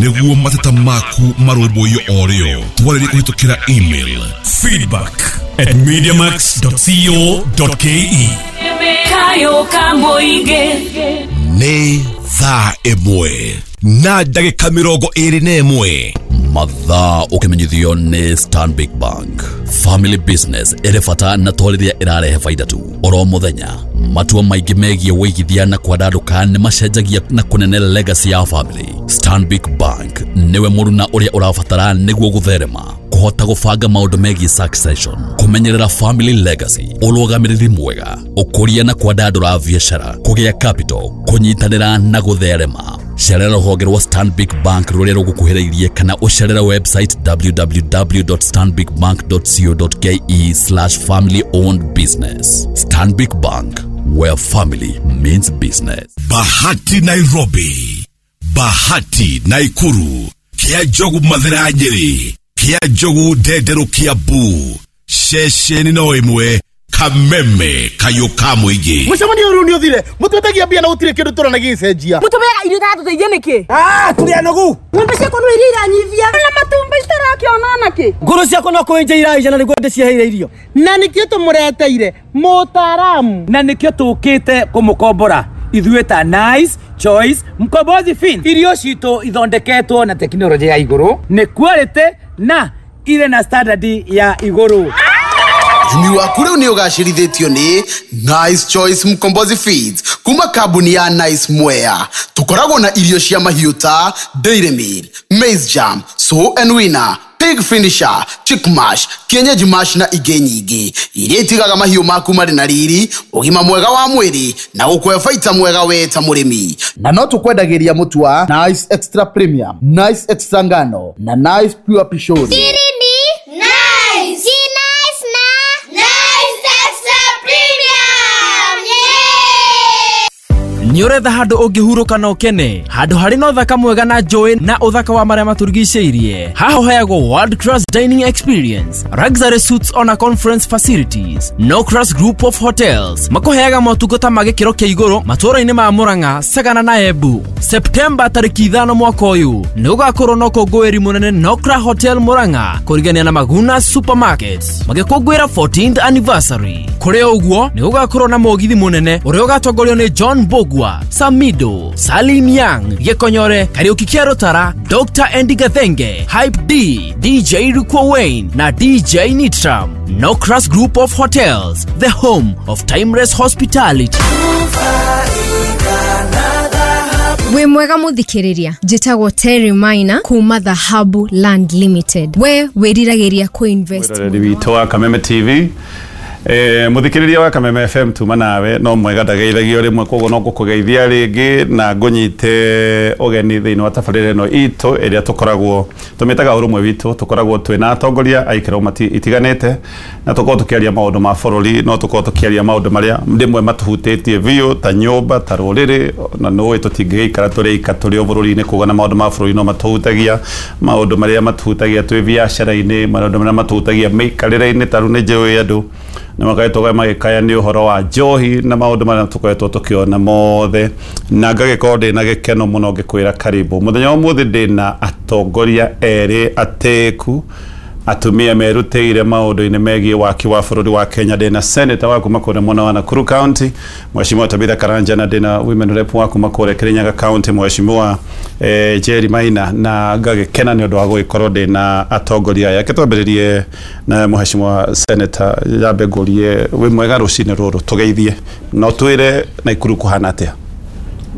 Nĩguo mateta maku marũmbũiyo o rĩo, twarĩrie kũhĩtũkĩra email feedback@mediamax.co.ke. Kayo kamũingĩ. Nĩ thaa 1 na ndagĩka 21. Mathaa ũkĩmenyithio nĩ Stanbic Bank. Family business ĩrĩ bata na to rĩrĩa ĩrarehe baida tu. Oro mũthenya matua maingĩ megiĩ wĩigithia na kwandandũka nĩ macenjagia na kũnene legacy ya family. Stanbic Bank nĩwe mũruna ũrĩa ũrabatara nĩguo gũtherema, kũhota gũbanga maũndũ megiĩ succession, kũmenyerera family legacy, ũrũgamĩrĩri mwega, ũkũria na kwandandũra biacara, kũgĩa capital, kũnyitanĩra na gũtherema. Cerera rũhonge rwa Stanbic Bank rũrĩa rũgũkuhĩrĩirie kana ũcerere website www.stanbicbank.co.ke/family owned business. Stanbic Bank, where family means business. Bahati Nairobi, Bahati Naikuru, Kia Njogu Mathira Nyeri, Kia Njogu Ndenderu Kiambu, ceceni no ĩmwe, Kameme kayũ ka mũingĩ. Mũcemanio ũrĩu nĩ ũthire, mũtwetagia mbia na gũtirĩ kĩndũ tũrona gĩgĩcenjia. Mũtũmĩaga irio itatũteithia nĩkĩ? Ah, tũrĩ anogu. Ng'ombe ciakwa no iria iranyivia na matumbĩ citarakĩona onakĩ. Ngũrũ ciakwa no kũenja iraija na nĩguo ndĩciheire irio. Na nĩkĩo tũmũreteire mũtaaramu. Na nĩkĩo tũkĩte kũmũkombora ithuĩ ta Nice Choice Mkombozi Fin. Irio citũ ithondeketwo na tekinoronjĩ ya igũrũ, nĩ quality na irĩ na standard ya igũrũ. Ũrĩmi waku rĩu nĩ ũgacĩrithĩtio nĩ Nice Choice Mkombozi Feeds kuma kambuni ya Nice Mwea. Tũkoragwo na irio cia mahiũ ta Dairy Meal, Maize Jam, Sow and Winner, Pig Finisher, Chick Mash, Kienyeji Mash na ingĩ nyingĩ iria itigaga mahiũ maku marĩ na riri, ũgima mwega wa mwĩrĩ na gũkũhe baita mwega we ta mũrĩmi. Na no tũkwendagĩria mũtu wa Nice Extra Premium, Nice Extra Ngano na Nice Pure Pishori. Siri ni Nice. Si nice na Nice Extra Premium. Yeah! Nĩ ũretha handũ ũngĩhurũka na ũkene, handũ harĩ na ũthaka mwega na njũĩ na ũthaka wa marĩa matũrigicĩirie. Haha ũheagwo world class dining experience, luxury suites ona conference facilities. No Class Group of Hotels makũheaga motungata ma gĩkĩro kĩa igũrũ matũũra-inĩ ma Murang'a, Sagana na Embu. Septemba tarĩki 5 mwaka ũyũ nĩ gũgakorwo na ũkũngũĩri mũnene Nokra Hotel Murang'a kũrigania na Maguna Supermarket magĩkũngũĩra 14th anniversary. Kũrĩ ũguo nĩ gũgakorwo na mũgithi mũnene ũrĩa ũgatongorio nĩ John Bogwa, Samido, Salim Young, Gĩkonyore, Kariũki Kĩa Rũtara, Dr. Andy Gathenge, Hype D, DJ Rukwa Wayne na DJ Nitram. Nokras Group of Hotels, the home of timeless hospitality. Wĩ mwega mũthikĩrĩria, njĩtagwo Terry Maina kuma Dhahabu Land Limited. We wĩriragĩria kũ-invest Mwĩroreri witũ wa Kameme TV, mũthikĩrĩria wa Kameme FM, tuma nawe no mwega ndageithagio rĩmwe, koguo no ngũkũgeithia rĩngĩ na ngũnyite ũgeni thĩinĩ wa tabarĩra ĩno itũ ĩrĩa tũkoragwo tũmĩtaga Ũrũmwe Witũ. Tũkoragwo twĩna atongoria a ikĩro itiganĩte na tũkoragwo tũkĩaria maũndũ ma bũrũri, no tũkoragwo tũkĩaria maũndũ marĩa rĩmwe matũhutĩtie biũ ta nyũmba, ta rũrĩrĩ, na nũĩ tũtingĩgĩikara tũrĩ ika tũrĩ o bũrũri-inĩ, koguo na maũndũ ma bũrũri no matũhutagia, maũndũ marĩa matũhutagia twĩ biacara-inĩ, maũndũ marĩa matũhutagia mĩikarĩre-inĩ. Ta rĩu nĩ njũĩ andũ nĩ makoretwo magĩkaya nĩ ũhoro wa njohi na maũndũ marĩa tũkoretwo tũkĩona mothe, na ngagĩkorwo ndĩna gĩkeno mũno ngĩkwĩra karibu. Mũthenya wa ũmũthĩ ndĩna atongoria erĩ atĩku, atumia merutĩire maũndũ-inĩ megiĩ waki wa bũrũri wa Kenya. Ndĩna senator wa kuma kũrĩa mwena wa Nakuru County, Mheshimiwa Tabitha Karanja, na ndĩna women rep wa kuma kũrĩa Kirinyaga County, Mheshimiwa Jerry Maina, na ngagĩkena nĩ ũndũ wa gũgĩkorwo ndĩna atongoria aya. Reke twambĩrĩrie na Mheshimiwa senator, yambe ngũrie wĩ mwega rũcinĩ rũrũ, tũgeithie na ũtwĩre Naikuru kũhana atĩa.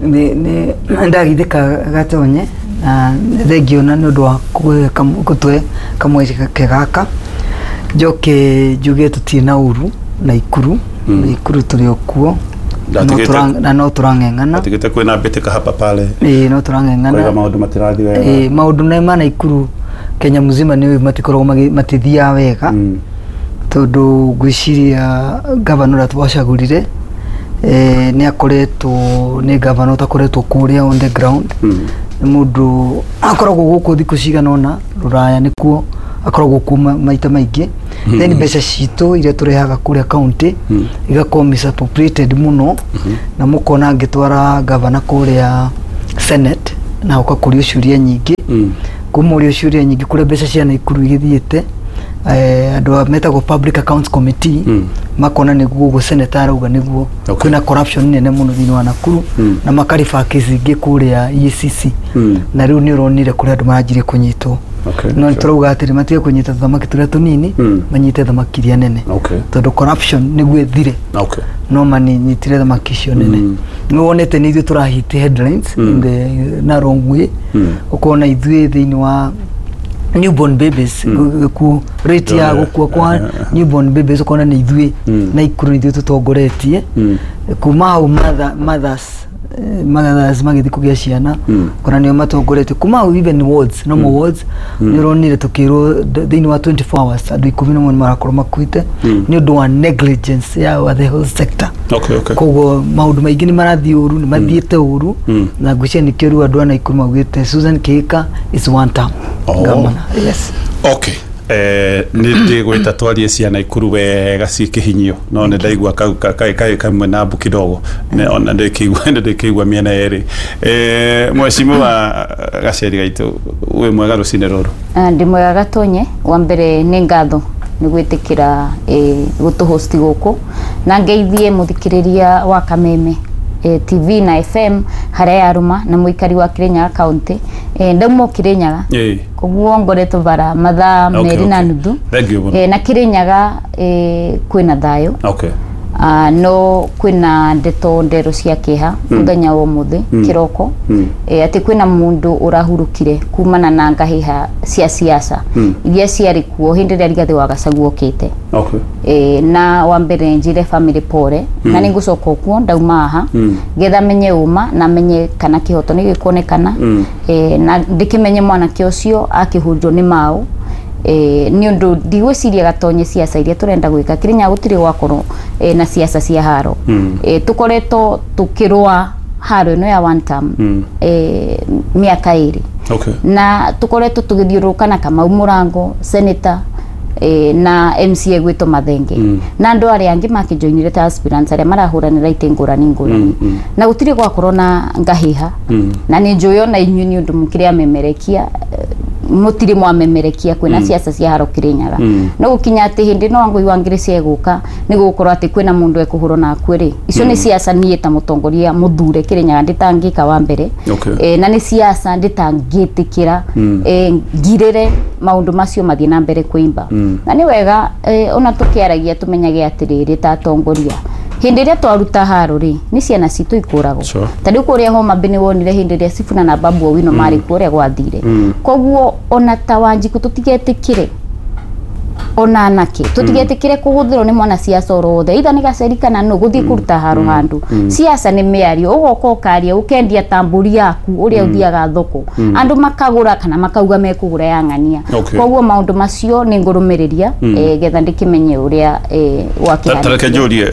Nĩ ndagithĩka gatonye na nĩ thengio na nĩ ũndũ wa gũtũhe kamweke gaka. Njoke njuge tũtirĩ na ũru Naikuru. Naikuru tũrĩ o kuo na no tũrang'eng'ana. Ndatigĩte kwĩna mbĩtĩka hapa pale. Ĩĩ, no tũrang'eng'ana. Kwega maũndũ matirathiĩ wega. Ĩĩ, maũndũ nĩ ma Naikuru Kenya mzima nĩ matikoragwo matithiaga wega, tondũ ngwĩciria gavana ũrĩa twacagũrire nĩ akoretwo nĩ gavana ũtakoretwo kũrĩa on the ground. Nĩ mũndũ akoragwo gũkũ thikũ cigana ũna, rũraya nĩkuo akoragwo kuo maita maingĩ. Then mbeca citũ iria tũrehaga kũrĩa county igakorwo misappropriated mũno, na mũkona ngĩtwara gavana kũrĩa Senate. na ũkakũrio ciũria nyingĩ. Kumũrio ciũria nyingĩ kũrĩa mbeca cia Naikuru igĩthiĩte, andũ metagwo Public Accounts Committee makona nĩguo ũguo senator arauga nĩguo kwĩna corruption nene mũno thĩinĩ wa Nakuru, na makariba kesi ingĩ kũrĩa EACC, na rĩu nĩ ũronire kũrĩa andũ maranjirie kũnyitwo. No nĩ tũrauga atĩrĩ, matige kũnyita thamaki tũrĩa tũnini, manyite thamaki iria nene, tondũ corruption nĩguo ĩthire, no maninyitire thamaki icio nene. Nĩ wonete nĩ ithuĩ tũrahit headlines in the na wrong way, ũkona ithuĩ thĩinĩ wa newborn babies, ku rate ya gũkua kwa newborn babies, ũkona nĩ ithuĩ Naikuru ithuĩ tũtongoretie. Kuma hau mothers magĩthiĩ kũgĩa ciana, ũkona nĩo matongoretie. Kuma hau even wards, normal wards, nĩ ũronire tũkĩrwo thĩinĩ wa 24 hours andũ 11 nĩ marakorwo makuĩte nĩ ũndũ wa negligence ya the health sector. Koguo maũndũ maingĩ nĩ marathiĩ ũru, nĩ mathiĩte ũru, na ngwĩciria nĩkĩo rĩu andũ a Naikuru maugĩte Susan Kihika is one term governor. Yes. Okay. Nĩ ndĩgwĩta twarie cia Naikuru wega ciĩ kĩhinyio, no nĩ ndaigua kaĩ kamwe na mbu kidogo, ona ndĩkĩigua mĩena yerĩ. Mheshimiwa Gaceri gaitũ, wĩ mwega rũcinĩ rũrũ? Ndĩ mwega Gatonye. Wa mbere nĩ ngatho nĩ gwĩtĩkĩra gũtũhosti gũkũ, na ngeithie mũthikĩrĩria wa Kameme TV na FM harĩa yarũma, na mũikari wa Kirinyaga County. Ndauma Kirinyaga, koguo ngoretwo bara mathaa 2 na nuthu. Na Kirinyaga kwĩna thayũ. No kwĩna ndeto ndero cia kĩeha mũthenya wa ũmũthĩ kĩroko, atĩ kwĩna mũndũ ũrahurũkire kumana na ngahĩha cia siasa iria ciarĩ kuo hĩndĩ ĩrĩa Rigathĩ wa Gachagua okĩte. Na wa mbere njire family pore, na nĩngũcoka kuo ndauma haha getha menye ũma na menye kana kĩhoto nĩ gĩkuonekana, na ndĩkĩmenye mwanake ũcio akĩhũrirwo nĩ maũ. Nĩ ũndũ ndigwĩciria Gatonye siasa iria tũrenda gwĩka Kirinyaga gũtirĩ gwakorwo na siasa cia haro. Tũkoretwo tũkĩrũa haro ĩno ya one term mĩaka 2, na tũkoretwo tũgĩthiũrũrũka na Kamau Mũrango senator, na MCA gwĩtwo Mathenge, na andũ arĩa angĩ makĩjoinire ta aspirants arĩa marahũranĩra itĩ ngũrani ngũrani, na gũtirĩ gwakorwo na ngahĩha. Na nĩ njũĩ ona inyuĩ nĩ ũndũ mũkĩrĩ amemerekia, mũtirĩ mwamemerekia kwĩna siasa cia haro Kirinyaga. No gũkinya atĩ hĩndĩ no Wangũi wa Ngĩrĩ ciegũka nĩ gũgũkorwo atĩ kwĩna mũndũ ekũhũrwo na akue rĩ, icio nĩ siasa niĩ ta mũtongoria mũthure Kirinyaga ndĩtangĩka wa mbere. Na nĩ siasa ndĩtangĩtĩkĩra ngirĩre maũndũ macio mathiĩ na mbere kũimba. Na nĩ wega ona tũkĩaragia tũmenyage atĩrĩrĩ ta atongoria, hĩndĩ ĩrĩa twaruta haro rĩ, nĩ ciana citũ ikũragwo. Ta rĩu kũrĩa Homa Bay nĩ wonire hĩndĩ ĩrĩa Sifuna na Babu Owino marĩ kuo ũrĩa gwathire. Koguo ona ta Wanjikũ tũtigetĩkĩre, ona anake tũtigetĩkĩre kũhũthĩrwo nĩ mwana siasa oro wothe, either nĩ Gaceri kana nũ gũthiĩ kũruta haro handũ. Siasa nĩ mĩario, ũgoka ũkaria ũkendia ta mbũri yaku ũrĩa ũthiaga thoko, andũ makagũra kana makauga mekũgũra ya ng'ania. Koguo maũndũ macio nĩ ngũrũmĩrĩria getha ndĩkĩmenye ũrĩa wakĩhanĩkire. Tareke njũrie,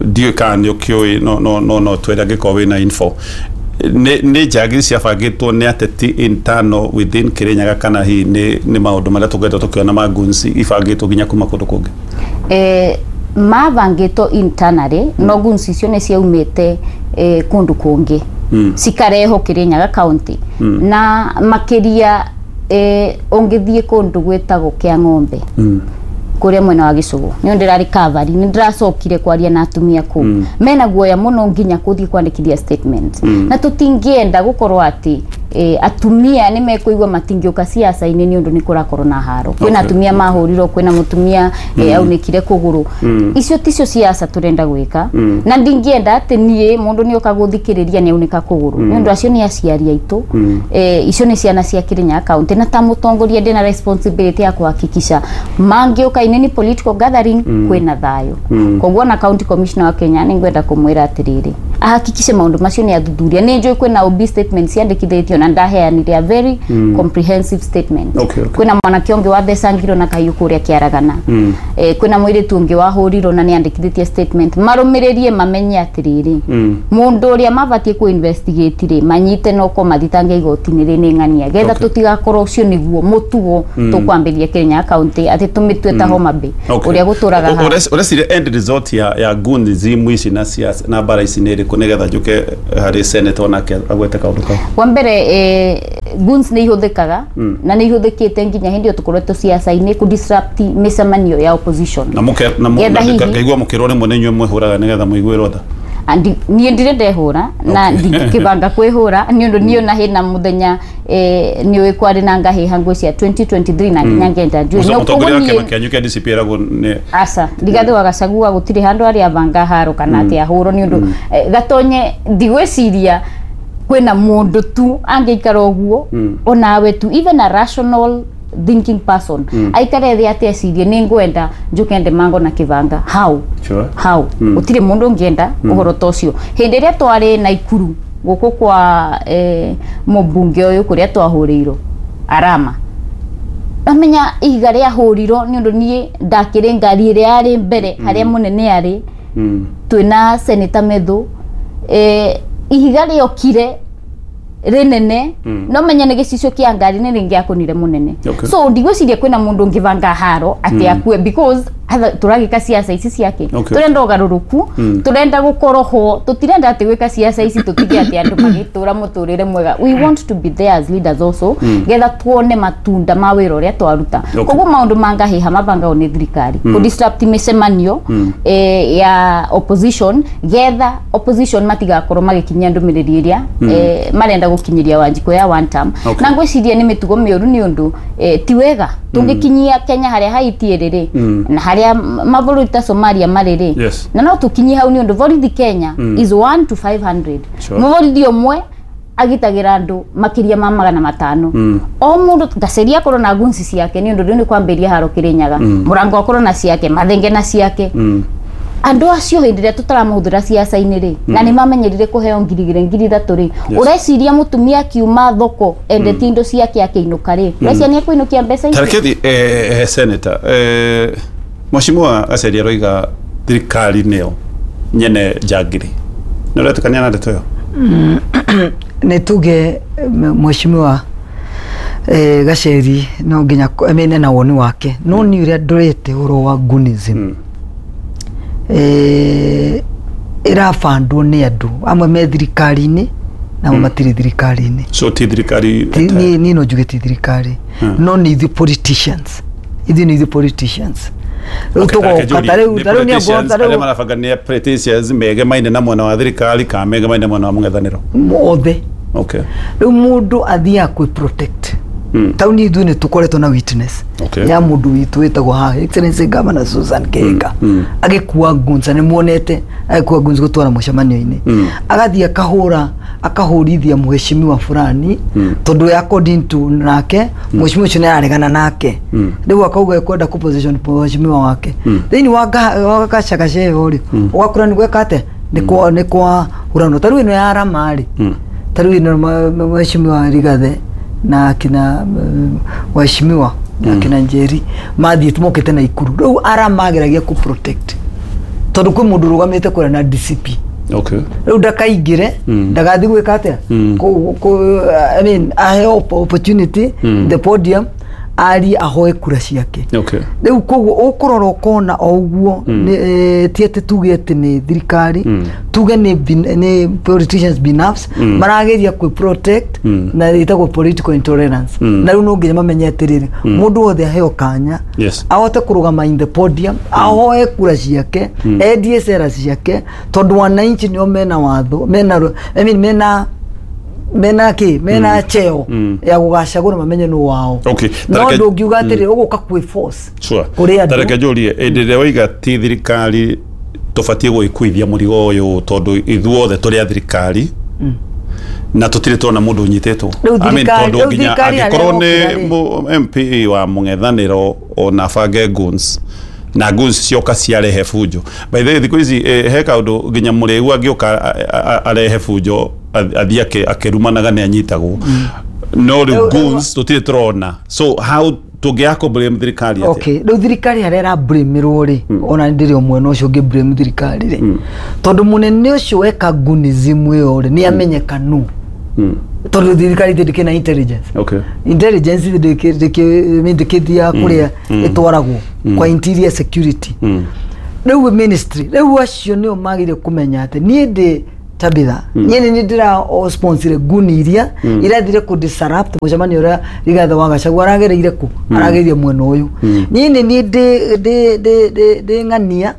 ndiũĩ kana nĩ ũkĩũĩ, no twĩre angĩkorwo wĩna info. Nĩ njagiri ciabangĩtwo nĩ ateti internal within Kirinyaga, kana hihi nĩ maũndũ marĩa tũkoretwo tũkĩona ma goons ibangĩtwo nginya kuma kũndũ kũngĩ? Mabangĩtwo internally, no goons icio nĩ ciaumĩte kũndũ kũngĩ cikarehwo Kirinyaga County, na makĩria ũngĩthiĩ kũndũ gwĩtagwo Kĩa Ng'ombe kũrĩa mwena wa Gĩcũgũ, nĩ ndĩrarĩ cover, nĩ ndĩracokire kwaria na atumia kũu, mena guoya mũno nginya kũthiĩ kwandĩkithia statement. Na tũtingĩenda gũkorwo atĩ atumia nĩ mekũigua matingĩũka siasa-inĩ nĩ ũndũ nĩ kũrakorwo na haro. Kwĩna atumia mahũrirwo, kwĩna mũtumia aunĩkire kũgũrũ. Icio ticio siasa tũrenda gwĩka, na ndingĩenda atĩ niĩ mũndũ nĩ oka gũthikĩrĩria nĩ aunĩka kũgũrũ, nĩ ũndũ acio nĩ aciari aitũ. Icio nĩ ciana cia Kirinyaga County, na ta mũtongoria ndĩna responsibility ya kũhakikisha mangĩũka in any political gathering kwĩna thayũ. Koguo na county commissioner wa Kenya nĩ ngwenda kũmwĩra atĩrĩrĩ, ahakikishe maũndũ macio nĩ athuthuria. Nĩ njũĩ kwĩna OB statement ciandĩkithĩtio na ndaheanire a very comprehensive statement. Kwĩna mwanake ũngĩ wathecangirwo na kahiũ kũrĩa Kĩaragana, kwĩna mũirĩtu ũngĩ wahũrirwo na nĩ andĩkithĩtie statement. Marũmĩrĩrie mamenye atĩrĩrĩ, mũndũ ũrĩa mabatiĩ kũ investigate rĩ, manyite no ko mathitange igoti-inĩ rĩ nĩ ng'ania, getha tũtigakorwo ũcio nĩguo mũtugo tũkwambĩrĩria Kirinyaga County atĩ tũmĩtue ta Homa Bay ũrĩa gũtũraga haha. Ũreciria end result ya goons ici na siasa na bara ici nĩ ĩrĩkũ? ĩrĩkũ nĩgetha njũke harĩ senator onake agwete kaũndũ kau? Wa mbere, guns nĩ ihũthĩkaga na nĩ ihũthĩkĩte nginya hĩndĩ ĩyo tũkoretwo ciaca-inĩ kũ disrupt mĩcemanio ya opposition. Na mũke na ngaigua mũkĩrwo rĩmwe nĩ inyuĩ mwĩhũraga nĩgetha mũiguĩrwo tha. Niĩ ndirĩ ndehũra na ndingĩbanga kwĩhũra nĩ ũndũ niĩ ona hĩna mũthenya nĩ ũĩ kwarĩ na ngahĩha ngwĩcia 2023 na nginya ngenda njui. No koguo niĩ kĩama kĩa DCP eragwo nĩ aca Rigathĩ wa Gachagua gũtirĩ handũ arĩa abanga haro kana atĩ ahũrwo nĩ ũndũ Gatonye ndigwĩciria kwĩna mũndũ tu angĩikara ũguo onawe tu, even a rational thinking person aikare thĩ atĩ ecirie nĩ ngwenda njuke ndemango na kĩbanga how? Sure. How? Gũtirĩ mũndũ ũngĩenda ũhoro ta ũcio. Hĩndĩ ĩrĩa twarĩ Naikuru gũkũ kwa mũmbunge ũyũ kũrĩa twahũrĩirwo Arama, amenya ihiga rĩahũrirwo nĩ ũndũ niĩ ndakĩrĩ ngari ĩrĩa yarĩ mbere harĩa mũnene arĩ twĩna Senator Methu, ihiga rĩokire rĩnene no menya nĩ gĩcicio kĩa ngari nĩ rĩngĩakũnire mũnene. So ndigwĩciria kwĩna mũndũ ũngĩbanga haro atĩ akue because tũragĩka ciaca ici ciake. Tũrenda ũgarũrũku, tũrenda gũkorwo ho, tũtirenda atĩ gwĩka ciaca ici tũtige atĩ andũ magĩtũra mũtũrĩre mwega. We want to be there as leaders also getha tuone matunda ma wĩra ũrĩa twaruta. Koguo maũndũ ma ngahĩha mabangagwo nĩ thirikari kũ disrupt mĩcemanio ya opposition getha opposition matigakorwo magĩkinyia ndũmĩrĩri ĩrĩa marenda gũkinyĩria Wanjikũ ya one term. Na ngwĩciria nĩ mĩtugo mĩũru nĩ ũndũ ti wega tũngĩkinyia Kenya harĩa Haiti ĩrĩ rĩ na harĩa mabũrũri ta Somalia marĩ rĩ, na no tũkinyie hau nĩ ũndũ borithi Kenya is 1 to 500. Mũborithi ũmwe agitagĩra andũ makĩria ma 500. O mũndũ Gaceria akorwo na gunci ciake nĩ ũndũ rĩu nĩ kwambĩrĩria haro Kĩrĩnyaga, Mũrango akorwo na ciake, Mathenge na ciake. Andũ acio hĩndĩ ĩrĩa tũtaramahũthĩra ciaca-inĩ rĩ na nĩ mamenyerire kũheo 2,000 3,000 rĩ, ũreciria mũtumia akiuma thoko endetie indo ciake akĩinũka rĩ, ũreciria nĩ ekũinũkia mbeca icio? Tarekethi senator, Mheshimiwa Gaceria aroiga thirikari nĩyo nyene njangiri, nĩ ũretĩkania na ndeto ĩyo? Nĩ tuge Mheshimiwa Gacheri no nginya amene na woni wake, no nĩ ũrĩa ndorete ũhoro wa gunism ĩrabandwo nĩ andũ amwe me thirikari-inĩ na amwe matirĩ thirikari-inĩ. So ti thirikari niĩ no njuge ti thirikari, no nĩ ithuĩ politicians, ithuĩ nĩ ithuĩ politicians. Rĩu tũgoka ta rĩu nĩ arĩa marabanga nĩ politicians megemaine na mwena wa thirikari kana megemaine na mwena wa mũng'ethanĩro othe. Okay. Rĩu mũndũ athiaga kwĩ protect tauni ithuĩ nĩ tũkoretwo na witness ya mũndũ witũ wĩtagwo haha Excellency Governor Susan Kihika agĩkua guns, nĩ muonete agĩkua guns gũtwara mũcemanio-inĩ, agathiĩ akahũra akahũrithia mheshimiwa fulani tondũ according to nake mheshimiwa ũcio nĩ araregana nake, rĩu akauga ekwenda kũ position mheshimiwa wake thĩinĩ wa gacagaca ĩyo rĩ, ũgakora nĩ gweka atĩa nĩ kwa hũranwo. Ta rĩu ĩno ya Arama rĩ, ta rĩu ĩno mheshimiwa Rigathĩ na akina waheshimiwa akina Njeri mathiĩte mokĩte na Ikuru, rĩu aramageragia kũ protect tondũ kwĩ mũndũ ũrũgamĩte kũrĩa na DCP. Okay. Rĩu ndakaingĩre ndagathiĩ gwĩka atĩa, I mean aheo opportunity the podium arie ahoe kura ciake. Okay. Rĩu koguo ũkũrora ũkona o ũguo ti atĩ tuge atĩ nĩ thirikari, tuge nĩ politicians binafsi marageria kwĩ protect na ĩtagwo political intolerance. Na rĩu no nginya mamenye atĩrĩrĩ, mũndũ wothe aheo kanya ahote kũrũgama in the podium ahoe kura ciake, endie cera ciake, tondũ wananchi nĩo mena watho, mena I mean mena ki mena cheo ya gugacagura mamenye no wao. Okay. No ndungiuga atiri uguka kwi force kuri andu. Tareke njurie indi ria waiga ti thirikari tubatie gwikuithia murigo uyu tondu ithuothe turi a thirikari na tutire tuona mundu unyititwo. I mean tondu nginya angikorwo ni MP wa mung'ethaniro ona bange guns na guns cioka ciarehe bunjo. By the way thiku ici he kaundu nginya muriu angioka arehe bunjo athie akirumanaga ni anyitagwo, no riu guns tutire turona. So how tũngĩaka blame thirikari atĩa? Okay, rĩu thirikari harĩa ĩra blame-rwo rĩ, ona ndĩrĩ o mwena ũcio ũngĩ blame thirikari rĩ, tondũ mũnene ũcio weka gunism ĩyo rĩ nĩ amenyeka nũ, tondũ thirikari ndĩkĩ na intelligence. Okay. Intelligence ndĩkĩthiaga kũrĩa ĩtwaragwo kwa interior security. Rĩu ministry, rĩu acio nĩo magĩrĩire kũmenya atĩ niĩ ndĩ Tabitha, niĩ nĩ ndĩra sponsor nguni iria irathire kũ disrupt mũcemanio ũrĩa Rigathĩ wa Gachagua aragereire kũ, aragereire mwena ũyũ. Niĩ nĩ niĩ ndĩ ng'ania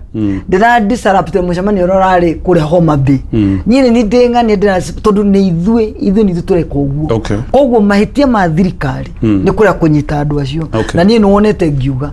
ndĩra disrupt mũcemanio ũrĩa ũrarĩ kũrĩa Homa Bay. Niĩ nĩ niĩ ndĩ ng'ania ndĩra, tondũ nĩ ithuĩ nĩ ithuĩ tũreka ũguo. Koguo mahĩtia ma thirikari nĩ kũrĩa kũnyita andũ acio. Na niĩ nĩ wonete ngiuga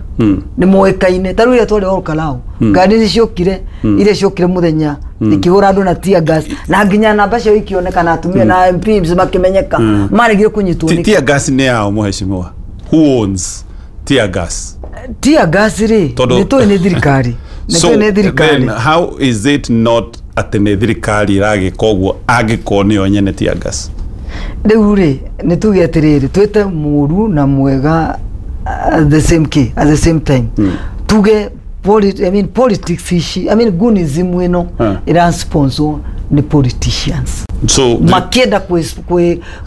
nĩ moĩkaine, ta rĩu rĩrĩa twarĩ Olkalau, ngari nĩ ciokire, iria ciokire mũthenya ikĩhũra andũ na tear gas, na nginya namba ciao ikĩoneka na atumia na MPs makĩmenyeka, maregire kũnyitwo nĩ Tear gas nĩ yao, mũheshimiwa? Who owns tear gas? Tear gas rĩ, nĩ tũĩ nĩ thirikari, nĩ So tũĩ nĩ thirikari. then how is it not atĩ nĩ thirikari ĩragĩka ũguo angĩkorwo nĩyo nyene tear gas? Rĩu rĩ, nĩ tuge atĩrĩrĩ, twĩte mũru na mwega at the same key, at the same time. Tuge I mean, politics ici, I mean, gunism ĩno ĩra sponsor nĩ politicians So makĩenda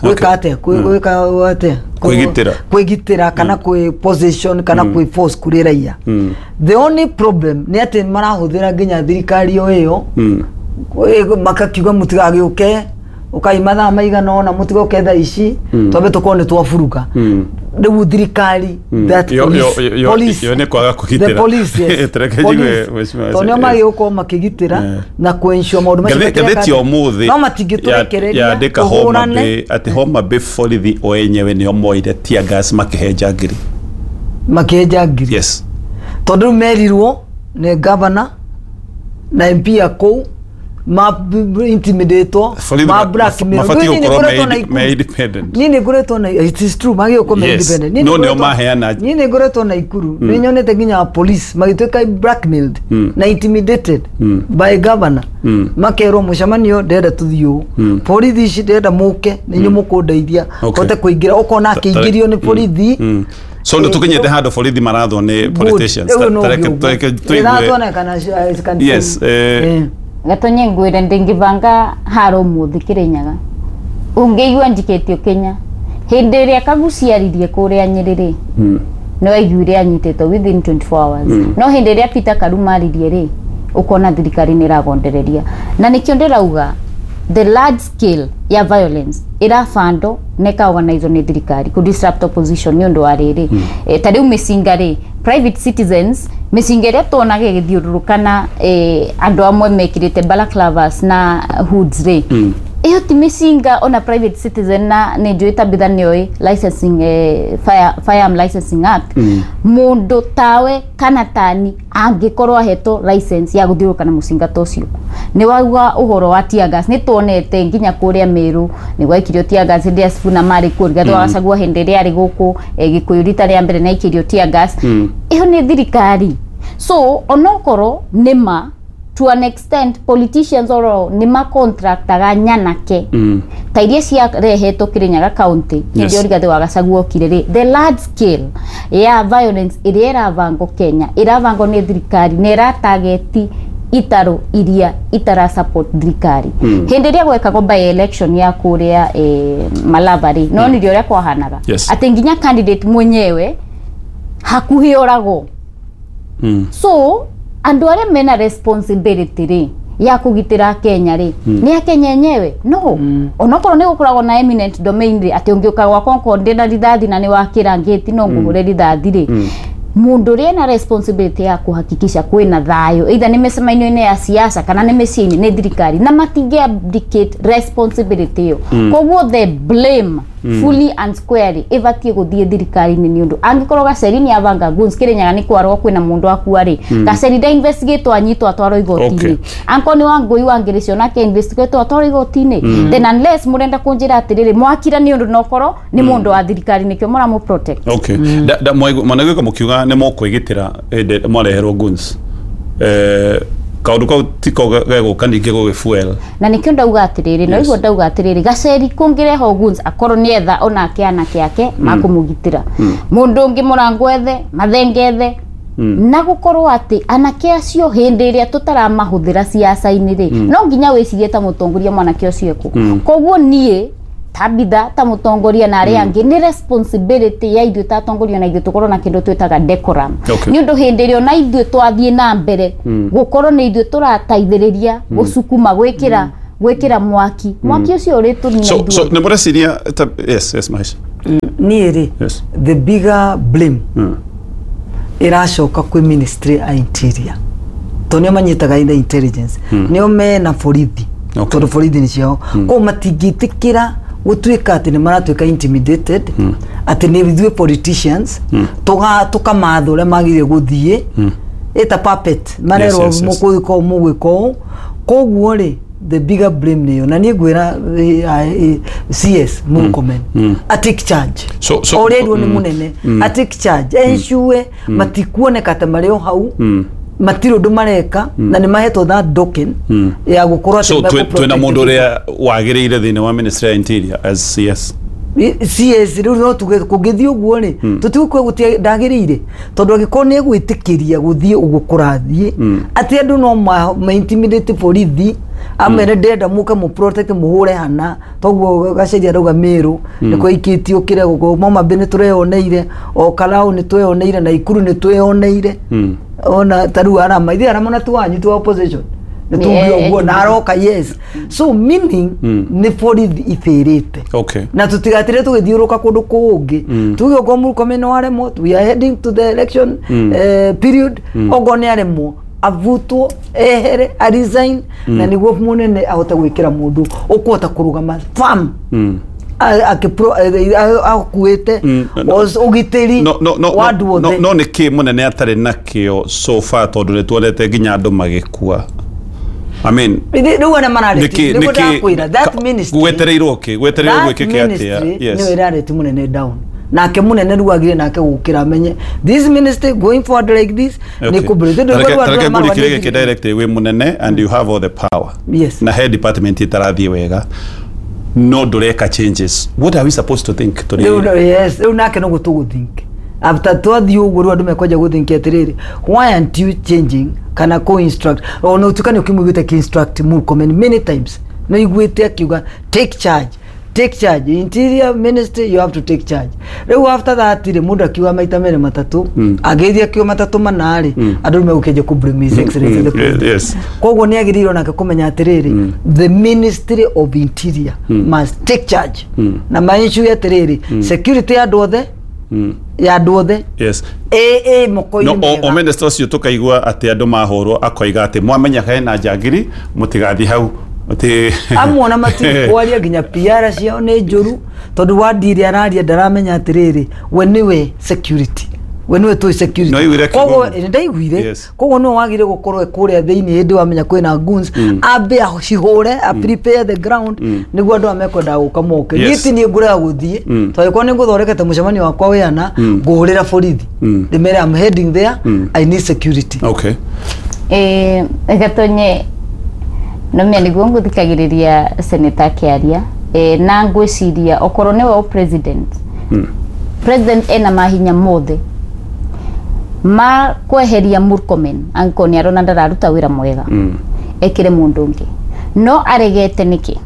gwĩka atĩa, gwĩka atĩa? Kwĩgitĩra. Kwĩgitĩra kana kwĩ position kana kwĩ force kũrĩ raia. The only problem nĩ atĩ marahũthĩra nginya thirikari o ĩyo, makakiuga mũtigagĩũke, ũkai mathaa maigana ũna, mũtigoke thaa ici, twambe tũkorwo nĩ twaburuga. Rĩu thirikari, that police, Yo nĩ kwaga the kũgitĩra. police, yes. Tereke Police. njigue, mheshimiwa. Tondũ nĩo magĩrĩirwo gũkorwo makĩgitĩra na kũensure maũndũ macio Ngathĩti ya ũmũthĩ no matingĩtũrekereria yandĩka Homa tũhũrane. Bay atĩ Homa Bay borithi o enyewe nĩo moire tear gas makĩhe ngiri. Makĩenja ngiri? Yes. Tondũ rĩu merirwo nĩ governor na MP a kũu, ma intimidatwo, Borithi ma blackmail. mabatiĩ Niĩ nĩ gũkorwo ngoretwo na me independent. Niĩ nĩ ngoretwo na, it is true, magĩrĩirwo gũkorwo me independent. Niĩ No nĩ nĩo ngoretwo- maheana. Niĩ nĩ ngoretwo na Ikuru, nĩ nyonete nginya police magĩtuĩka blackmailed na intimidated by governor, makerwo mũcemanio ndĩrenda tũthiĩ ũũ, borithi ici ndĩrenda mũke nĩ inyuĩ mũkũndeithia hote kũingĩra, ũkona akĩingĩrio nĩ borithi. So nĩ tũkinyĩte handũ borithi marathwo nĩ politicians? Rĩu no Tareke ũguo. tareke tũigue. Ĩrathwo na kana Yes. Gatonye, ngwire ndingibanga haro umuthi Kirinyaga ungiigua njikitio Kenya hindi ĩrĩa kaguciaririe kũrĩa Nyĩrĩ rĩ, nĩ waiguire anyitĩtwo within 24 hours. No hĩndĩ ĩrĩa Peter Karuma aririe rĩ, ũkona thirikari nĩ ĩragondereria, na nĩkĩo ndĩrauga the large scale ya violence ĩrabandwo na ĩkaorganizwo nĩ thirikari kũ disrupt opposition. Nĩ ũndũ wa rĩrĩ, ta rĩu mĩcinga rĩ, private citizens, mĩcinga ĩrĩa tuonaga ĩgĩthiũrũrũka na andũ amwe mekĩrĩte balaclavas na hoods rĩ, ĩyo ti mĩcinga ona private citizen, na nĩ njũĩ Tabitha nĩoĩ licensing, Firearm Licensing Act. Mũndũ tawe kana tani angĩkorwo ahetwo license ya gũthiũrũrũka na mũcinga ta ũcio, nĩ wauga ũhoro wa tear gas, nĩ tuonete nginya kũrĩa Meru nĩ gwaikirio tear gas hĩndĩ ya Sifuna marĩ kuo. Rigathĩ wa Gachagua hĩndĩ ĩrĩa arĩ gũkũ Gĩkũyũ rita rĩa mbere nĩ aikĩrio tear gas. Ĩyo nĩ thirikari. So onokorwo nĩ ma to an extent politicians oro nĩ macontractaga nyanake ta iria ciarehetwo Kirinyaga county hĩndĩ ĩyo Rigathĩ wa Gachagua okire rĩ, the large scale ya violence ĩrĩa ĩrabangwo Kenya ĩrabangwo nĩ thirikari na ĩratageti itarũ iria itara support thirikari. Hĩndĩ ĩrĩa gwekagwo by election ya kũrĩa Malava rĩ, no nĩrio ũrĩa kwahanaga atĩ nginya candidate mwenyewe hakuhĩ oragwo. So andũ arĩa mena responsibility rĩ ya kũgitĩra Kenya rĩ, nĩ akenya enyewe. No onokorwo nĩ gũkoragwo na eminent domain rĩ, atĩ ũngĩũka gwakwa okorwo ndĩna rithathi na nĩ wakĩra ngĩti no ngũhũre rithathi rĩ, mũndũ ũrĩa ena responsibility ya kuhakikisha kwĩna thayũ, either nĩ mĩcemanio-inĩ ya siasa kana nĩ mĩciĩ-inĩ, nĩ thirikari, na matingĩ abdicate responsibility ĩyo. Koguo the blame fully and squarely ĩbatiĩ gũthiĩ thirikari-inĩ, nĩ ũndũ angĩkorwo Gaceri nĩ abanga guns Kĩrĩnyaga nĩ kwarwo kwĩna mũndũ akua rĩ, Gaceri nda investigate anyitwo atwarwo igoti-inĩ. Angĩkorwo nĩ Wangũi wangĩrĩcio nake investigate atwarwo igoti-inĩ. Then unless mũrenda kũnjĩra atĩrĩrĩ, mwakira nĩ ũndũ nokorwo nĩ mũndũ wa thirikari nĩkĩo mũramũ protect. Okay. Mwanagwĩka mũkiuga nĩ mũkwĩgitĩra hĩndĩ mwareherwo guns, kaũndũ kau tiko gegũka ningĩ gũgĩ fuel? Na nikio ndauga atiriri, no igua ndauga atiriri, Gaceri kũngĩreho guns akorwo nĩ etha onake anake ake makũmũgitĩra, mũndũ ũngĩ mũrango ethe mathengethe, na gũkorwo atĩ anake acio hĩndĩ ĩrĩa tũtaramahũthĩra ciaca-inĩ rĩ, no nginya wĩcirie ta mũtongoria mwanake ũcio ekũ. Koguo niĩ Tabitha ta mũtongoria na arĩa angĩ, nĩ responsibility ya ithuĩ ta atongoria na ithuĩ tũkorwo na kĩndũ twĩtaga decorum, nĩ ũndũ hĩndĩ ĩrĩa ona ithuĩ twathiĩ na mbere gũkorwo nĩ ithuĩ tũrateithĩrĩria gũcukuma gwĩkĩra Gwikira mwaki mwaki ucio uri So so nĩ mũreciria yes, Mahesh. Niĩ rĩ, the bigger blame ĩracoka kwĩ ministry ya interior, tondũ nĩo manyitaga in the intelligence, nĩo mena borithi, tondũ borithi nĩ ciao. Koguo matingĩtĩkĩra gũtuĩka atĩ nĩ maratuĩka intimidated, atĩ nĩ ithuĩ politicians tũkamatha ũrĩa magĩrĩire gũthiĩ, ĩta puppet marerwo mũgwĩka ũũ, mũgwĩka ũũ. Koguo rĩ, the bigger blame nĩyo, na niĩ ngwĩra CS Murkomen a take charge. So ũrĩa nĩ mũnene, a take charge, ensure matikuoneka ta marĩ o hau, matirĩ ũndũ mareka, na nĩ mahetwo that token ya gũkorwo So twĩna mũndũ ũrĩa wagĩrĩire thĩinĩ wa ministry ya interior as CS? CS rĩu no tuge kũngĩthiĩ ũguo rĩ, tũtigũkua gũtia ndagĩrĩire, tondũ angĩkorwo nĩ egwĩtĩkĩria gũthiĩ ũguo kũrathiĩ, atĩ andũ no ma intimidate borithi, amere ndĩrenda mũke mũ protect, mũhũre hana toguo Gaceria arauga Meru nĩ kwaikĩtio kĩrĩa gũkũ Moma Bay nĩ tũreyoneire, o Karau nĩ tweyoneire, na Ikuru nĩ tweyoneire, ona ta rĩu Arama, ithuĩ Arama na tu wanyu tu opposition nĩ tuge ũguo na aroka. Yes, so meaning nĩ borithi ibĩrĩte na tũtigatire tũgĩthiũrũka kũndũ kũngĩ. Tuge okorwo Murkomen no aremwo, we are heading to the election period, okorwo nĩ aremwo, avutwo, ehere, a resign, na nĩguo mũnene ahote gwĩkĩra mũndũ ũkũhota kũrũgama firm akuĩte ũgitĩri wa andũ othe. No nĩ kĩ mũnene atarĩ nakĩo so far, tondũ nĩ tuonete nginya andũ magĩkua? I mean, rĩu arĩa marareti, nĩguo ndakwĩra, that ministry gwetereirwo kĩ, gwetereirwo gwĩkĩke atĩa? Yes, nĩyo ĩrareti mũnene down, nake munene rĩu agire nake gũkĩra amenye this ministry going forward like this nĩ kũbũrĩ. Tareke ngũrikire gĩkĩ direct. Wĩ mũnene and you have all the power na head department itarathiĩ wega, no ndũreka changes. What are we supposed to think? Rĩu yes, rĩu nake no gũtũgũthink after twathiĩ ũguo, rĩu andũ mekwanja gũthink atĩrĩrĩ, why aren't you changing kana kũ instruct? Ona ũtuĩka nĩ ũkĩmũiguĩte kĩ instruct Murkomen many times, no iguĩte akiuga take charge, take charge, interior ministry, you have to take charge. Rĩu after that rĩ, mũndũ akiuga maita merĩ matatũ, agĩthiĩ akiuga matatũ mana rĩ, andũ rĩu megũkĩanjia kũ blame His Excellency the President. Koguo nĩ agĩrĩirwo nake kũmenya atĩrĩrĩ, the ministry of interior must take charge na maensure atĩrĩrĩ, security ya andũ othe, ya andũ othe ĩ moko-inĩ No o mega. Minister ũcio tũkaigua atĩ andũ mahũrwo akoiga atĩ mwamenya hena njangiri mũtigathiĩ hau, atĩ Amwe ona matikwaria, nginya PR ciao nĩ njũru, tondũ wandiri araria ndaramenya atĩrĩrĩ, we nĩwe security, we nĩwe tũĩ security. No aiguire akiuga Koguo ũguo? Ndaiguire. Koguo nĩwe wagire gũkorwo kũrĩa thĩinĩ hĩndĩ wamenya kwĩna goons, ambe acihũre, a prepare the ground, nĩguo andũ aya mekwendaga gũka moke. Niĩ ti niĩ ngũrega gũthiĩ, tondũ angĩkorwo nĩ ngũthondekete mũcemanio wakwa wĩana, ngũhũrĩra borithi ndĩmere I'm heading there, I need security. Gatonye nomia niguo nguthikagiriria seneta akiaria, na ngwiciria okorwo niwe o president, president ena mahinya mothe ma kweheria Murkomen angĩkorwo nĩ arona ndararuta wĩra mwega, ekĩre mũndũ ũngĩ. No aregete nĩkĩ?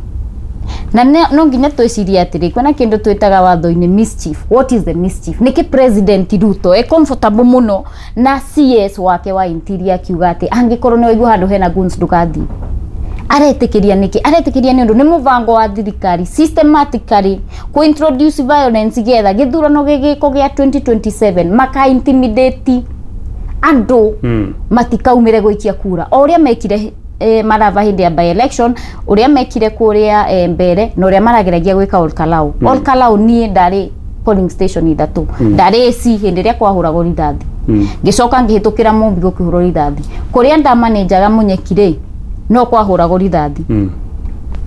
Na no nginya twĩcirie atĩrĩ, kwĩna kĩndũ twĩtaga watho-inĩ mischief. What is the mischief? Nĩkĩ President Ruto e comfortable mũno na CS wake wa interior akiuga atĩ angĩkorwo nĩ waigua handũ hena goons ndũgathiĩ? Aretĩkĩria nĩkĩ? Aretĩkĩria nĩ ũndũ nĩ mũbango wa thirikari systematically kũ introduce violence getha gĩthurano gĩgĩko gĩa 2027 maka intimidate andũ matikaumĩre gũikia kura, o ũrĩa mekire Marava hĩndĩ ya by election, ũrĩa mekire kũrĩa mbere, na ũrĩa marageragia gwĩka Ol Kalou. Ol Kalou niĩ ndarĩ polling station ithatũ, ndarĩ AC hĩndĩ ĩrĩa kwahũragwo rithathi, ngĩcoka ngĩhĩtũkĩra Mumbi gũkĩhũrwo rithathi, kũrĩa ndamanĩnjaga Munyeki rĩ, no kwahũragwo rithathi.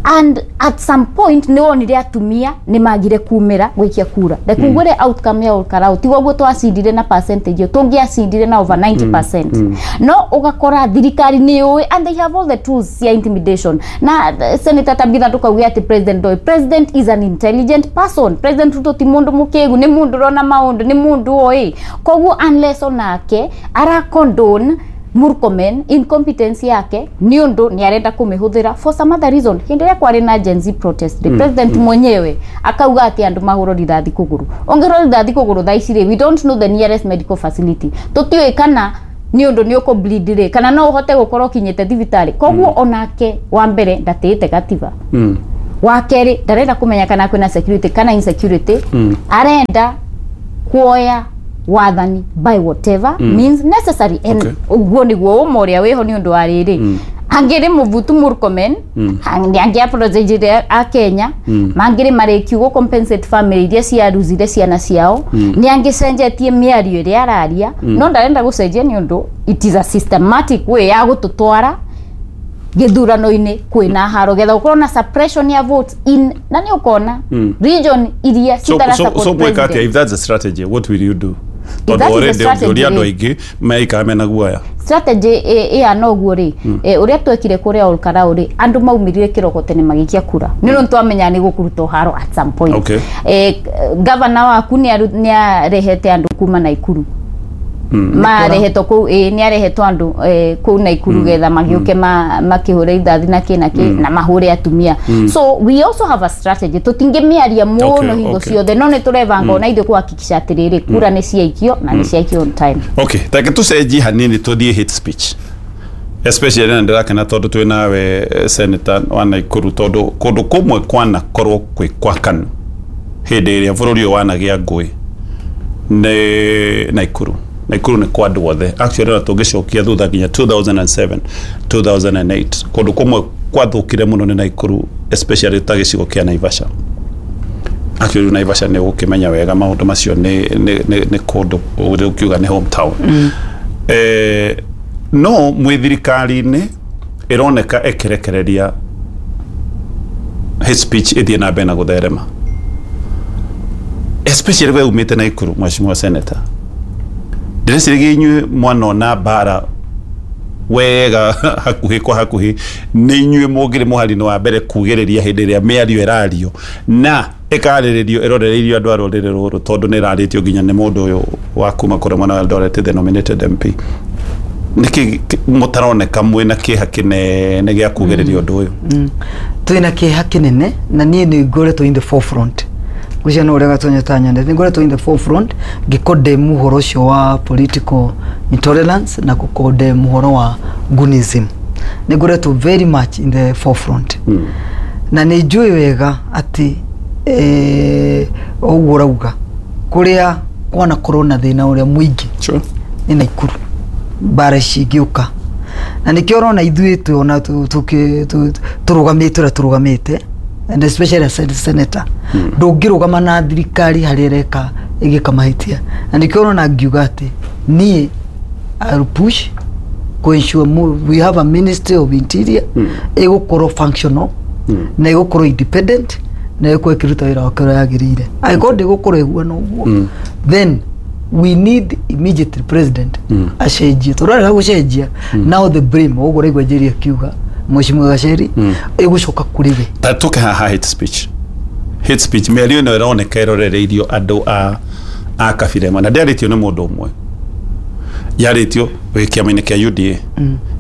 And at some point nĩ wonire atumia nĩ magire kumĩra gũikia kura. Reke ngwĩre, outcome ya Ol Kalou tiguo guo twacindire na percentage ĩyo, tũngĩacindire na over 90%. No ũgakora thirikari nĩ yũĩ and they have all the tools cia intimidation. Na Senator Tabitha, ndũkauge atĩ president ndoĩ. President is an intelligent person. President Ruto ti mũndũ mũkĩgu, nĩ mũndũ ũrona maũndũ, nĩ mũndũ oĩ. Koguo unless onake ara condone Murkomen incompetence yake nĩ ũndũ nĩ arenda kũmĩhũthĩra for some other reason. Hĩndĩ ĩrĩa kwarĩ na Gen Z protest rĩ, president mwenyewe akauga atĩ andũ mahũrwo rithathi kũgũrũ. Ũngĩhũrwo rithathi kũgũrũ thaa ici rĩ, we don't know the nearest medical facility, tũtiũĩ kana Nĩ ũndũ nĩ ũkũ bleed rĩ, kana no ũhote gũkorwo ũkinyĩte thibitarĩ. Koguo onake wa mbere ndatĩĩte gatiba. Wa kerĩ, ndarenda kũmenya kana kwĩna security kana insecurity. Arenda kuoya wathani by whatever means necessary, and ũguo nĩguo ũma ũrĩa wĩho. Nĩ ũndũ wa rĩrĩ, angĩrĩ mũbutu Murkomen, angĩ apologizire a Kenya, mangĩrĩ marĩkiu compensate family iria ciaruzire ciana ciao. Nĩ angĩcenjetie mĩario ĩrĩa araria, no ndarenda gũcenjia nĩ ũndũ it is a systematic way ya gũtũtwara gĩthurano-inĩ kwĩna haro, getha gũkorwo na suppression ya votes in, na nĩ ũkona region iria citara so, support so mweka atia? president. If that's the strategy, what will you do? If that Tondũ is the already strategy, ũngĩũria andũ rĩ. aingĩ meikara mena guoya. Strategy ĩhana ũguo rĩ, ũrĩa twekire kũrĩa Olkarau rĩ, andũ maumĩrire kĩroko tene magĩikia kura, nĩ ũndũ twamenya nĩ gũkũrutwo haro at some point. Gavana waku nĩ arehete andũ kuma Naikuru, marehetwo kũu, ĩ nĩ arehetwo andũ kũu Naikuru getha magĩũke makĩhũre ithathi na kĩ na kĩ na mahũre atumia. So we also have a strategy. Tũtingĩmĩaria mũno hingo ciothe, no nĩ tũrebanga ona ithuĩ kũhakikisha atĩrĩrĩ, kura nĩ ciaikio na nĩ ciaikio on time. Okay, take tucenjie hanini tuthiĩ hate speech, especially na ndĩrakena tondũ twĩ nawe senator wa Naikuru, tondũ kũndũ kũmwe kwanakorwo kwĩ kwakanu hĩndĩ ĩrĩa bũrũri ũyũ wanagĩa ngũĩ nĩ Naikuru. Naikuru nĩ kwa andũ othe actually. Ona tũngĩcokia thutha nginya 2007, 2008, kũndũ kũmwe kwathũkire mũno nĩ Naikuru, especially ta gĩcigo kĩa Naivasha. Actually Naivasha nĩ ũgũkĩmenya wega maũndũ macio, nĩ kũndũ ũkiuga nĩ hometown. No mwĩ thirikari-inĩ ĩroneka ĩkĩrekereria hate speech ĩthiĩ na mbere na gũtherema, especially we umĩte Naikuru, mheshimiwa senator. Ndĩreciragia inyuĩ mwanona mbara wega hakuhĩ kwa hakuhĩ, nĩ inyuĩ mũngĩrĩ mũhari-inĩ wa mbere kugĩrĩria hĩndĩ ĩrĩa mĩario ĩrario na ĩkarĩrĩrio ĩrorereirio andũ a rũrĩrĩ rũrũ, tondũ nĩ ĩrarĩtio nginya nĩ mũndũ ũyũ wa kuma kũrĩa mwena wa Eldoret, the nominated MP. Nĩkĩ mũtaroneka mwĩna kĩeha kĩnene gĩa kugĩrĩria ũndũ ũyũ? Twĩna kĩeha kĩnene, na niĩ nĩ ngoretwo in the forefront. Ngwĩciria no ũrĩa Gatonyo tanyonete, nĩ ngoretwo in the forefront ngĩkondem ũhoro ũcio wa political intolerance na gũkondem ũhoro wa gunism. Nĩ ngoretwo very much in the forefront, na nĩ njũĩ wega atĩ ũguo ũrauga, kũrĩa kwanakorwo na thĩna ũrĩa mũingĩ nĩ Naikuru, mbara ici ingĩũka, na nĩkĩo ũrona ithuĩ tuona tũrũgamĩte ũrĩa tũrũgamĩte, and especially as a senator ndũngĩrũgama na thirikari harĩa ĩreka ĩgĩka mahĩtia. Na nĩkĩo ũrona ngiuga atĩ niĩ I'll push ku ensure we have a Ministry of Interior ĩgũkorwo functional na ĩgũkorwo independent na ĩgũkorwo ĩkĩruta wĩra wake ũrĩa yagĩrĩire. Angĩkorwo ndĩgũkorwo ĩhuana ũguo, then we need immediately president acenjie, tondũ arega gũcenjia, now the blame, ũguo ũraigua Njeri akiuga, mheshimiwa Gacheri, ĩgũcoka kũrĩ we. Ta tũke haha hate speech. Hate speech, mĩario ĩno ĩroneka ĩrorereirio andũ a kabira ĩmwe, na ndĩarĩtio nĩ mũndũ ũmwe, yarĩtio wĩ kĩama-inĩ kĩa UDA,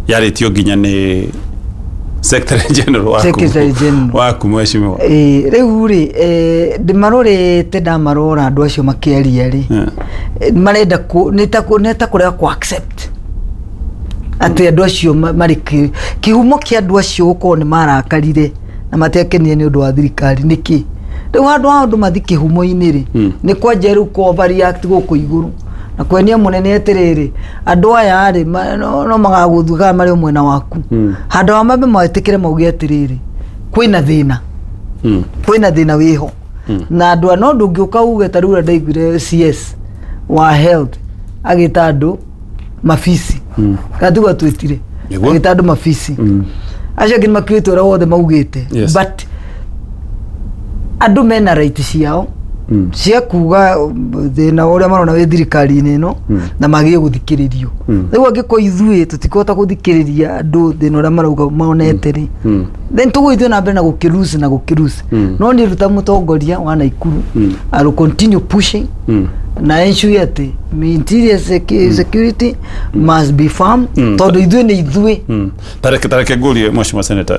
yarĩtio nginya nĩ secretary general waku. Secretary General. Waku, mheshimiwa. Ĩĩ, rĩu rĩ, ndĩmarorete, ndamarora andũ acio makĩaria rĩ, marenda nĩ ta kũrega ku accept atĩ andũ acio marĩ kĩhumo kĩa andũ acio gũkorwo nĩ marakarire na matiakenire nĩ ũndũ wa thirikari nĩkĩ. Rĩu handũ ha andũ mathi kĩhumo-inĩ rĩ, nĩ kwanja rĩu kũ overreact gũkũ igũrũ na kwenia mũnene atĩrĩrĩ, andũ aya rĩ, no magagũthuga marĩ o mwena waku, handũ ha mambe metĩkĩre mauge atĩrĩrĩ, kwĩna thĩna, kwĩna thĩna wĩho na andũ a no ndũngĩũka uge ta rĩu ũrĩa ndaiguire CS wa health agĩta andũ mabisi, kana tiguo atwĩtire? Nĩguo. Agĩta andũ mabisi, acio angĩ nĩmakiuĩte ũrĩa wothe maugĩte. But andũ mena right ciao cia kuga thĩna ũrĩa marona wĩ thirikari-inĩ ĩno, na magĩrĩire gũthikĩrĩrio. Rĩu angĩkorwo ithuĩ tũtikũhota gũthikĩrĩria andũ thĩna ũrĩa marauga monete rĩ, then tũgũgĩthiĩ na mbere na gũkĩruci na gũkĩruci. No niĩ ruta mũtongoria wa Naikuru, I will continue pushing na ensure atĩ interior security must be firm, tondũ ithuĩ nĩ ithuĩ. Tareke ngũrie, mheshimiwa senator,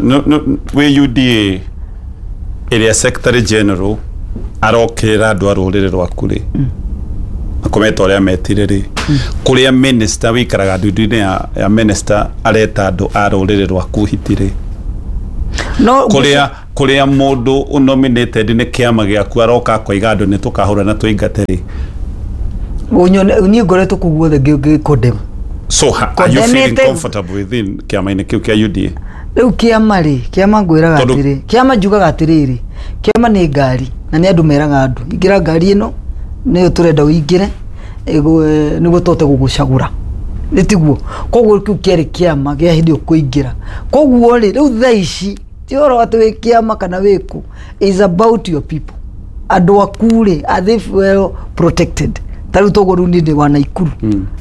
wĩ UDA ĩrĩa secretary general arokĩrĩra andũ a rũrĩrĩ rwaku rĩ, Makometa ũrĩa metire rĩ, kũrĩa minister wĩikaraga ndundu-inĩ ya minister areta andũ a rũrĩrĩ rwaku hiti rĩ, no kũrĩa mũndũ ũnominated nĩ kĩama gĩaku aroka akoiga andũ nĩ tũkahũra na tũingate rĩ. Unyone niĩ ngoretwo kũu guothe ngĩ condemn. So are you feeling Condemnĩte- comfortable within kĩama-inĩ kĩu kĩa UDA? Rĩu kĩama rĩ, kĩama ngwĩraga atĩrĩ, kĩama njugaga atĩrĩrĩ, kĩama nĩ ngari na nĩ andũ meraga andũ ingĩra ngari ĩno nĩyo tũrenda ũingĩre nĩguo tũhote gũgũcagũra, nĩ tiguo? Koguo kĩu kĩarĩ kĩama gĩa hĩndĩ ĩyo kũingĩra. Koguo rĩ, rĩu thaa ici ti ũhoro atĩ wĩ kĩama kana wĩkũ, is about your people, andũ aku rĩ, are they well protected? Ta rĩu toguo rĩu niĩ ndĩ wa Naikuru,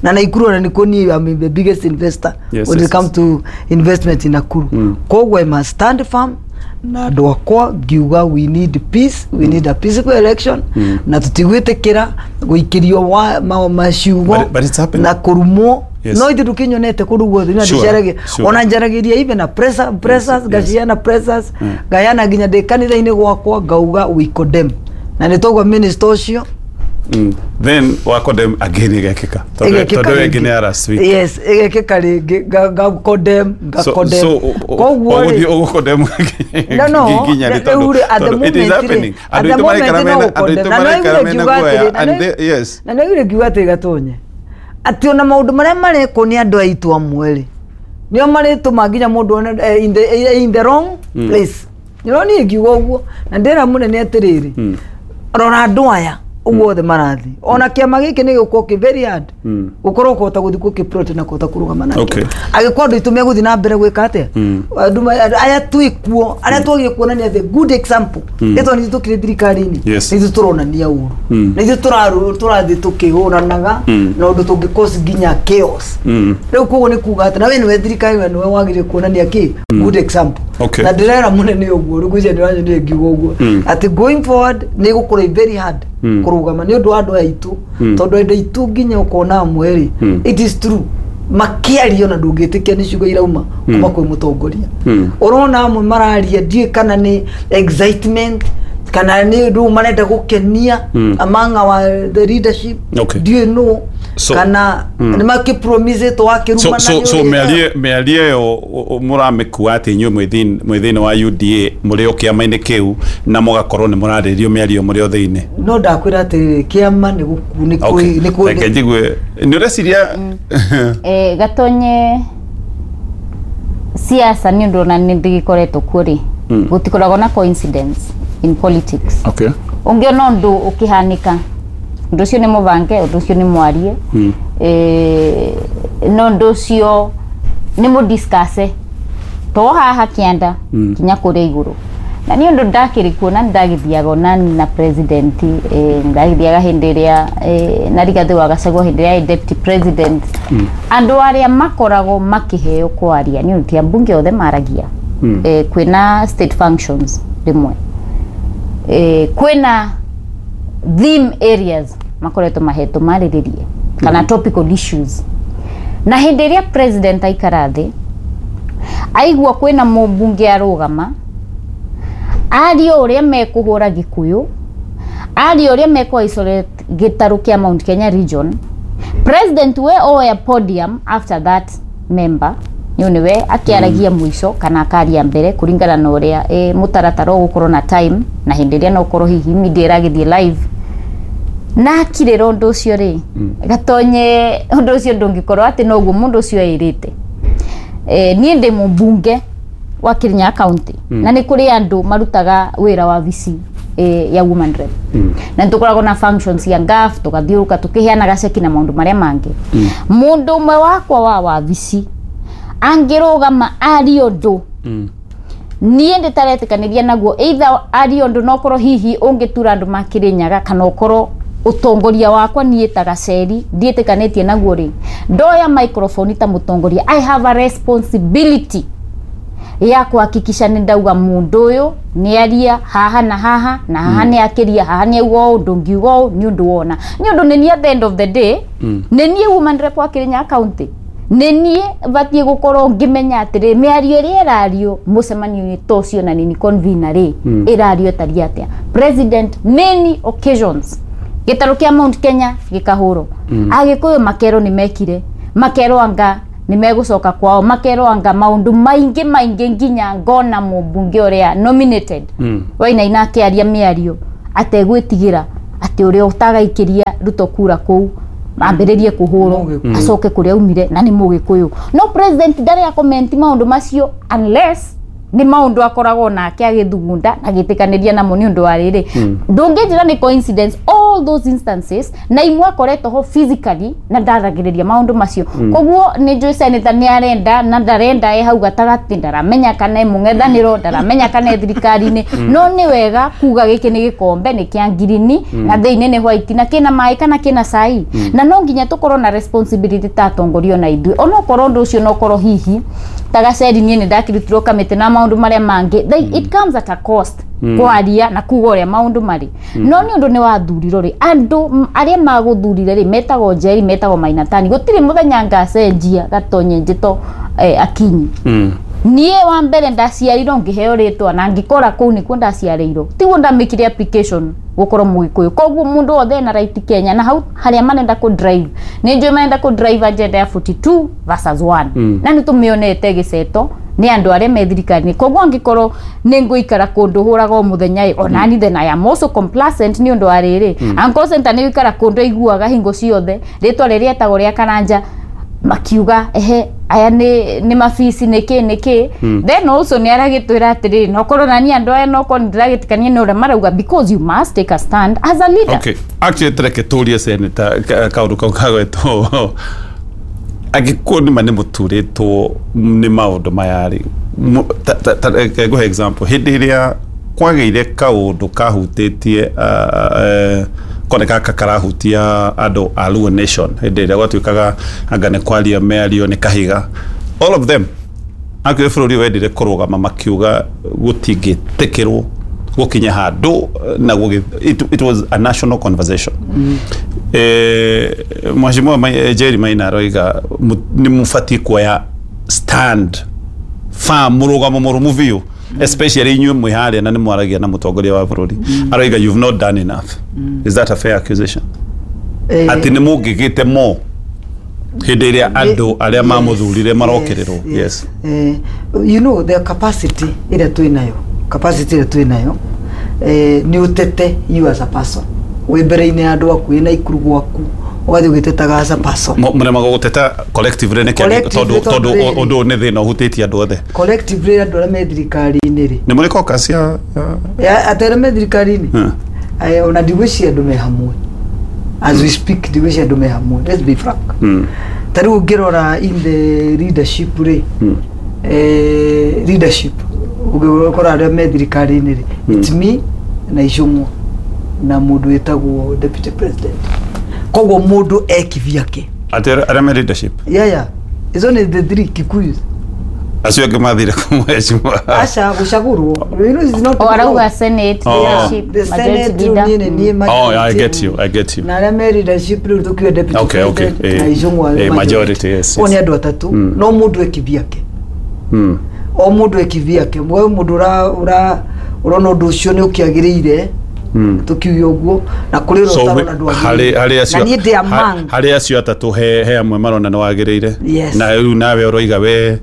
na Naikuru ona nĩkuo niĩ am the biggest investor when it comes to investment in Nakuru. Koguo I must stand firm na andũ akwa ngiuga we need peace, we need a peaceful election, na tũtigwĩtĩkĩra gũikĩrio maciugo But it's happening. na kũrumwo. No ithuĩ ndũkĩnyonete kũndũ guothe na ndĩcaragia ona njaragĩria even na pressers, ngaciana pressers, ngayana nginya ndĩ kanitha-inĩ gwakwa ngauga we condemn, na nĩ toguo minister ũcio. Then wa condemn again ĩgekĩka Ĩgekĩka tondũ ĩngĩ rĩngĩ. nĩ ya last week. Yes, ĩgekĩka rĩngĩ, ngacondemn, So ngacondemn. so Koguo ũgũthiĩ rĩ, ũgũcondemn no nginya rĩ? rĩu rĩ, at the Tondũ it is moment rĩ, happening. at Andũ the aitũ maraikara moment no mena, andũ aitũ gũcondemn. Na maraikara no mena ngiuga guoya atĩrĩ, na and no- yes. na nĩaugire ngiuga atĩrĩ Gatonye, atĩ ona maũndũ marĩa marekwo nĩ andũ aitũ amwe rĩ, nĩo marĩtũma nginya mũndũ one in the wrong place. Nĩro niĩ ngiuga ũguo na ndĩra mũnene atĩrĩrĩ, rora andũ aya ũguo othe marathiĩ, ona kĩama gĩkĩ nĩ gĩgũkorwo kĩ very hard gũkorwo kũhota gũthiĩ gũkĩ na kũhota kũrũgama nakĩo angĩkorwo andũ aitũ megũthiĩ na mbere gwĩka atĩa. Andũ aya twĩkuo arĩa twagire kuonania the good example, ĩtondũ nĩ ithuĩ tũkĩrĩ thirikari-inĩ, nĩ ithuĩ tũronania ũru, nĩ ithuĩ tũrathiĩ tũkĩhũranaga na ũndũ tũngĩ cause nginya chaos. Rĩu koguo nĩ kuga atĩ na we nĩwe thirikari, we nĩwe wagĩrĩire kuonania kĩ good example. Na ndĩrera mũnene ũguo rĩu ngwĩciria ndĩranyonire ngiuga ũguo atĩ going forward nĩ ĩgũkorwo very hard kũrũgama nĩ ũndũ wa andũ aya aitũ, tondũ andũ aitũ nginya ũkona amwe rĩ, it is true, makĩaria ona ndũngĩtĩkia nĩ ciugo irauma kuma kwĩ mũtongoria. Ũrona amwe mararia, ndiũĩ kana nĩ excitement kana nĩ ũndũ marenda gũkenia among our the leadership, ndiũĩ nũ kana nĩ makĩpromisĩtwo wakĩrumana. So mĩario ĩyo mũramĩkua atĩ inyuĩ mwĩ thĩinĩ wa UDA, mũrĩ o kĩama-inĩ kĩu na mũgakorwo nĩ mũrarĩrĩrio mĩario mũrĩ o thĩinĩ? No ndakwĩra atĩrĩrĩ, kĩama nĩ gũku nĩ kwĩ nĩ kwĩ Reke njigue nĩ ũreciria. Gatonye, siasa nĩ ũndũ ona nĩ ndĩgĩkoretwo kuo rĩ, gũtikoragwo na coincidence in politics. Ũngĩona ũndũ ũkĩhanĩka, ũndũ ũcio nĩ mũbange, ũndũ ũcio nĩ mwarie, no ũndũ ũcio nĩ mũdiscuss to haha kĩanda kinya kũrĩa igũrũ. Na nĩ ũndũ ndakĩrĩ kuo na nĩndagĩthiaga onani na president, ndagĩthiaga hĩndĩ ĩrĩa na Rigathĩ wa Gachagua hĩndĩ ĩrĩa arĩ deputy president. Andũ arĩa makoragwo makĩheo kwaria, nĩ ũndũ ti ambunge othe maragia, kwĩna state functions rĩmwe, kwĩna theme areas makoretwo mahetwo marĩrĩrie kana topical issues. Na hĩndĩ ĩrĩa president aikara thĩ aigua kwĩna mũmbunge arũgama aria ũrĩa mekũhũra Gĩkũyũ, aria ũrĩa mekũ isolate gĩtarũ kĩa Mount Kenya region, president we oya podium after that member, nĩ nĩwe akĩaragia mũico kana akaria mbere kũringana na ũrĩa mũtaratara ũgũkorwo na time, na hĩndĩ ĩrĩa no ũkorwo hihi media ĩragĩthiĩ live na akirĩra ũndũ ũcio rĩ. Gatonye, ũndũ ũcio ndũngĩkorwo atĩ noguo mũndũ ũcio eĩrĩte. Niĩ ndĩ mũmbunge wa Kirinyaga County na nĩ kũrĩ andũ marutaga wĩra wa VC ya woman rep, na nĩ tũkoragwo na functions ya NGAAF, tũgathiũrũka tũkĩheanaga ceki na maũndũ marĩa mangĩ. Mũndũ ũmwe wakwa wa wabici angĩrũgama arie ũndũ niĩ ndĩtaretĩkanĩria naguo, either arie ũndũ no ũkorwo hihi ũngĩtura andũ ma Kĩrĩnyaga kana ũkorwo ũtongoria wakwa niĩ ta Gaceri ndiĩtĩkanĩtie naguo rĩ, ndoya microphone ta mũtongoria, I have a responsibility ya kuhakikisha nĩ ndauga mũndũ ũyũ nĩ aria haha na haha na haha, nĩ akĩria haha, nĩ auga ũũ, ndũngiuga ũũ nĩ ũndũ wona nĩ ũndũ nĩ niĩ at the end of the day nĩ niĩ woman rep wa Kirinyaga County, nĩ niĩ batiĩ gũkorwo ngĩmenya atĩrĩ mĩario ĩrĩa ĩrario mũcemanio-inĩ ta ũcio na nini convener rĩ, ĩrario ĩtariĩ atĩa. President many occasions Gĩtarũ kĩa Mount Kenya gĩkahũrwo. Agĩkũyũ makerwo nĩ mekire, makerwo anga nĩ megũcoka kwao, makerwo anga maũndũ maingĩ maingĩ nginya ngona mũmbunge ũrĩa nominated Wainaina akĩaria mĩario ategwĩtigĩra atĩ ũrĩa ũtagaikĩria Ruto kura kũu ambĩrĩrie kũhũrwo acoke kũrĩa aumire na nĩ mũgĩkũyũ. No president ndarĩ a comment maũndũ macio unless nĩ maũndũ akoragwo nake agĩthugunda na agĩtĩkanĩria namo nĩ ũndũ wa rĩrĩ. Ndũngĩnjĩra nĩ coincidence all those instances, na imwe akoretwo ho physically na ndaragĩrĩria maũndũ macio. Koguo nĩ njũĩ senator nĩ arenda na ndarenda, e hau gatagatĩ, ndaramenya kana e mũng'ethanĩro, ndaramenya kana e thirikari-inĩ. No nĩ wega kuga gĩkĩ nĩ gĩkombe nĩ kĩa ngirini na thĩinĩ nĩ white na kĩna maĩ kana kĩna cai. Na no nginya tũkorwo na responsibility ta atongoria ona ithuĩ, onokorwo ũndũ ũcio no korwo hihi ta gaceri niĩ nĩ ndakĩrutirwo kamĩtĩ na maũndũ marĩa mangĩ. It comes at a cost kwaria na kuga ũrĩa maũndũ marĩ. No nĩ ũndũ nĩ wathurirwo rĩ, andũ arĩa magũthurire rĩ metagwo Njeri, metagwo Mainatani. Gũtirĩ mũthenya ngacenjia Gatonye njĩto Akinyi. Niĩ wa mbere ndaciarirwo ngĩheo rĩtwa na ngĩkora kũu nĩkuo ndaciarĩirwo, tiguo ndamĩkire application gũkorwo mũgĩkũyũ. Koguo mũndũ wothe ena right Kenya, na hau harĩa marenda kũ drive nĩ njũĩ marenda kũ drive agenda ya 42 versus 1. Na nĩ tũmĩonete gĩceto nĩ andũ arĩa me thirikari-inĩ. Koguo angĩkorwo nĩ ngũikara kũndũ hũraga o mũthenya ĩ, onani then I am also complacent nĩ ũndũ wa rĩrĩ. Uncle Center nĩ gũikara kũndũ aiguaga hingo ciothe rĩtwa rĩrĩa etagwo rĩa Karanja, makiuga ehe aya nĩ mabici nĩ kĩ. Then also nĩ aragĩtwĩra atĩrĩrĩ, nokorwo nani andũ aya nokorwo nĩ ndĩragĩtĩkania nĩ ũrĩa marauga, because you must take a stand as a leader. Okay, actually tereke tũrie senator kaũndũ kau kagwetwo. Angĩkorwo nĩma nĩ mũturĩtwo nĩ maũndũ maya rĩ, reke ngũhe example. Hĩndĩ ĩrĩa kwagĩire kaũndũ kahutĩtie koneka karahutia andũ a Luo Nation, hĩndĩ ĩrĩa gwatuĩkaga anga nĩ kwaria mĩario nĩ kahiga, all of them akĩrĩ bũrũri wendire kũrũgama makiuga gũtingĩtĩkĩrwo gũkinya handũ na it was a national conversation. Mheshimiwa Jerry Maina aroiga nĩ mũbatiĩ kuoya stand firm, mũrũgamo mũrũmu biũ, especially inyuĩ mwĩ harĩa na nĩ mwaragia na mũtongoria wa bũrũri. Aroiga you've not done enough. Is that a fair accusation, atĩ nĩ mũngĩgĩte mo hĩndĩ ĩrĩa andũ arĩa mamũthurire marokĩrĩrwo? Yes. You know the capacity ĩrĩa twĩ nayo, capacity ĩrĩa twĩ nayo nĩ ũtete you as a person wĩ mbere-inĩ ya andũ aku, wĩna ikuru gwaku, ũgathiĩ ũgĩtetaga as a person. Mũremagwo gũteta collectively nĩkĩ? Collectively. Tondũ tondũ tondũ rĩrĩ. Ũndũ ũyũ nĩ thĩna ũhutĩtie andũ othe. Collectively andũ arĩa me thirikari-inĩ rĩ Nĩ mũrĩ caucus ya atĩ arĩa me thirikari-inĩ. Ona ndigwĩciria andũ me hamwe as we speak, ndigwĩciria andũ me hamwe, let's be frank. Ta rĩu ũngĩrora in the leadership rĩ, leadership ũngĩkora arĩa me thirikari-inĩ rĩ, it's me na Icũng'wa na mũndũ wĩtagwo deputy president. Koguo mũndũ e kivyake. Atĩ arĩa me leadership? Yeah, it's only the three Kikuyus. Acio angĩ mathire kũmheshimiwa? Aca gũcagũrwo, you know, it's not O arauga senate Oh. leadership, the majority senate leader. rĩu niĩ nĩ niĩ Oh, I get you, I get you. Na arĩa me leadership rĩu tũkiuga deputy president na Icũng'wa. Majority, yes. Koguo nĩ andũ atatũ. No mũndũ e kivyake. O mũndũ e kivyake. We mũndũ ũra ũra ũrona ũndũ ũcio nĩ ũkĩagĩrĩire, tũkiuge ũguo, na kũrĩ ũrĩa So ũtarona harĩ ndwagĩrĩire. harĩ acio Na niĩ ndĩ among harĩ acio atatũ he amwe marona nĩ wagĩrĩire. Yes. Na rĩu nawe ũroiga we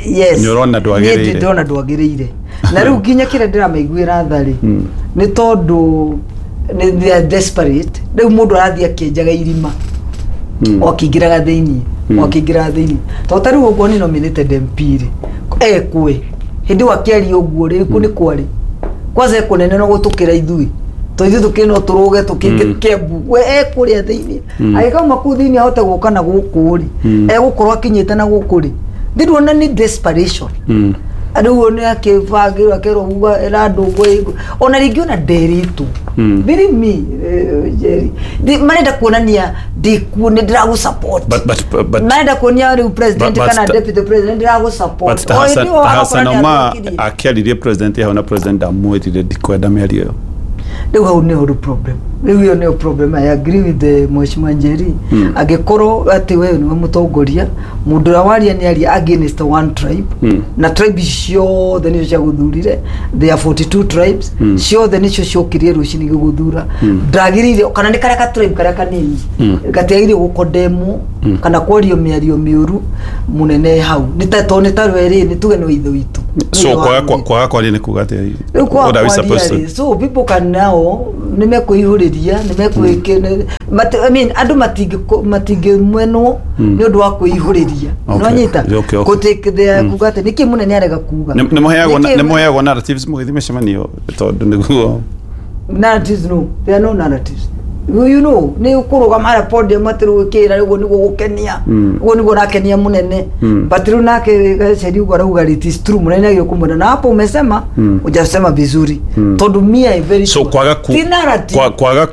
Yes. nĩ ũrona ndwagĩrĩire. Niĩ ndĩrona ndwagĩrĩire, na rĩu nginya kĩrĩa ndĩramaiguĩra tha rĩ, nĩ tondũ nĩ they are desperate. Rĩu mũndũ arathiĩ akĩenjaga irima o akĩingĩraga thĩiniĩ, o akĩingĩraga thĩiniĩ, tondũ ta rĩu ũguo nĩ nominated MP rĩ, ekwe hĩndĩ ĩyo akĩaria ũguo rĩ, kũ nĩ kwarĩ kwanza ekũnene no gũtũkĩra ithuĩ, to ithuĩ tũkĩrĩ no tũrũge tũkĩingĩ Kembu, we ekũrĩa thĩiniĩ. Agĩkauma kũu thĩiniĩ ahote gũka na gũkũ rĩ, egũkorwo akinyĩte na gũkũ rĩ, ndĩrona nĩ desperation. Rĩu nĩ akĩbangĩrwo akerwo uga ĩra andũ ũguo, ona rĩngĩ ona nderĩtwo. Believe me, Jerry, marenda kuonania ndĩkuo, nĩ ndĩragũ support. But Marenda kuonia rĩu president kana deputy president ndĩragũ support. But ta Hassan, ta Hassan Omar akĩaririe president hau na president ndamwĩrire ndikwenda mĩario ĩyo. Rĩu hau nĩho rĩu problem, rĩu ĩyo nĩyo problem. I agree with the Mheshimiwa Njeri, angĩkorwo atĩ we nĩwe mũtongoria, mũndũ ũrĩa waria nĩ aria against one tribe, na tribe ici ciothe nĩcio ciagũthurire. There are 42 tribes, ciothe nĩcio ciokirie rũcinĩ gĩgũthura. Ndagĩrĩire kana nĩ karĩa ka tribe karĩa kanini gatiagĩrĩire gũkondemwo kana kwario mĩario mĩũru mũnene hau, nĩ ta tondũ nĩ ta rwerĩ nĩ tuge nĩ wa ithe witũ. So kwaga kwaria nĩ kuga atĩa? Rĩu kwaga What are we supposed kwaria to rĩ, so people can now nĩ mekwĩihũrĩria, nĩ mekwĩke, I mean, andũ matingĩmenwo nĩ ũndũ wa kwĩihũrĩria. Nĩwanyita? Okay. Kũ take their kuga atĩ nĩkĩ mũnene arega kuga. Nĩ mũheagwo narratives mũgĩthiĩ mĩcemanio tondũ nĩguo Narratives, no, there are no narratives. Nĩ ũkũrũgama harĩa podium atĩ rĩu ũkĩra ũguo nĩguo gũkenia, ũguo nĩguo ũrakenia mũnene, but rĩu nake Gacheri ũguo arauga, it is true, mũnene agĩrĩirwo kũmwĩra na hapo umesema hujasema vizuri, tondũ me I very so sure. Kwaga ku Ti narrative. Kwaga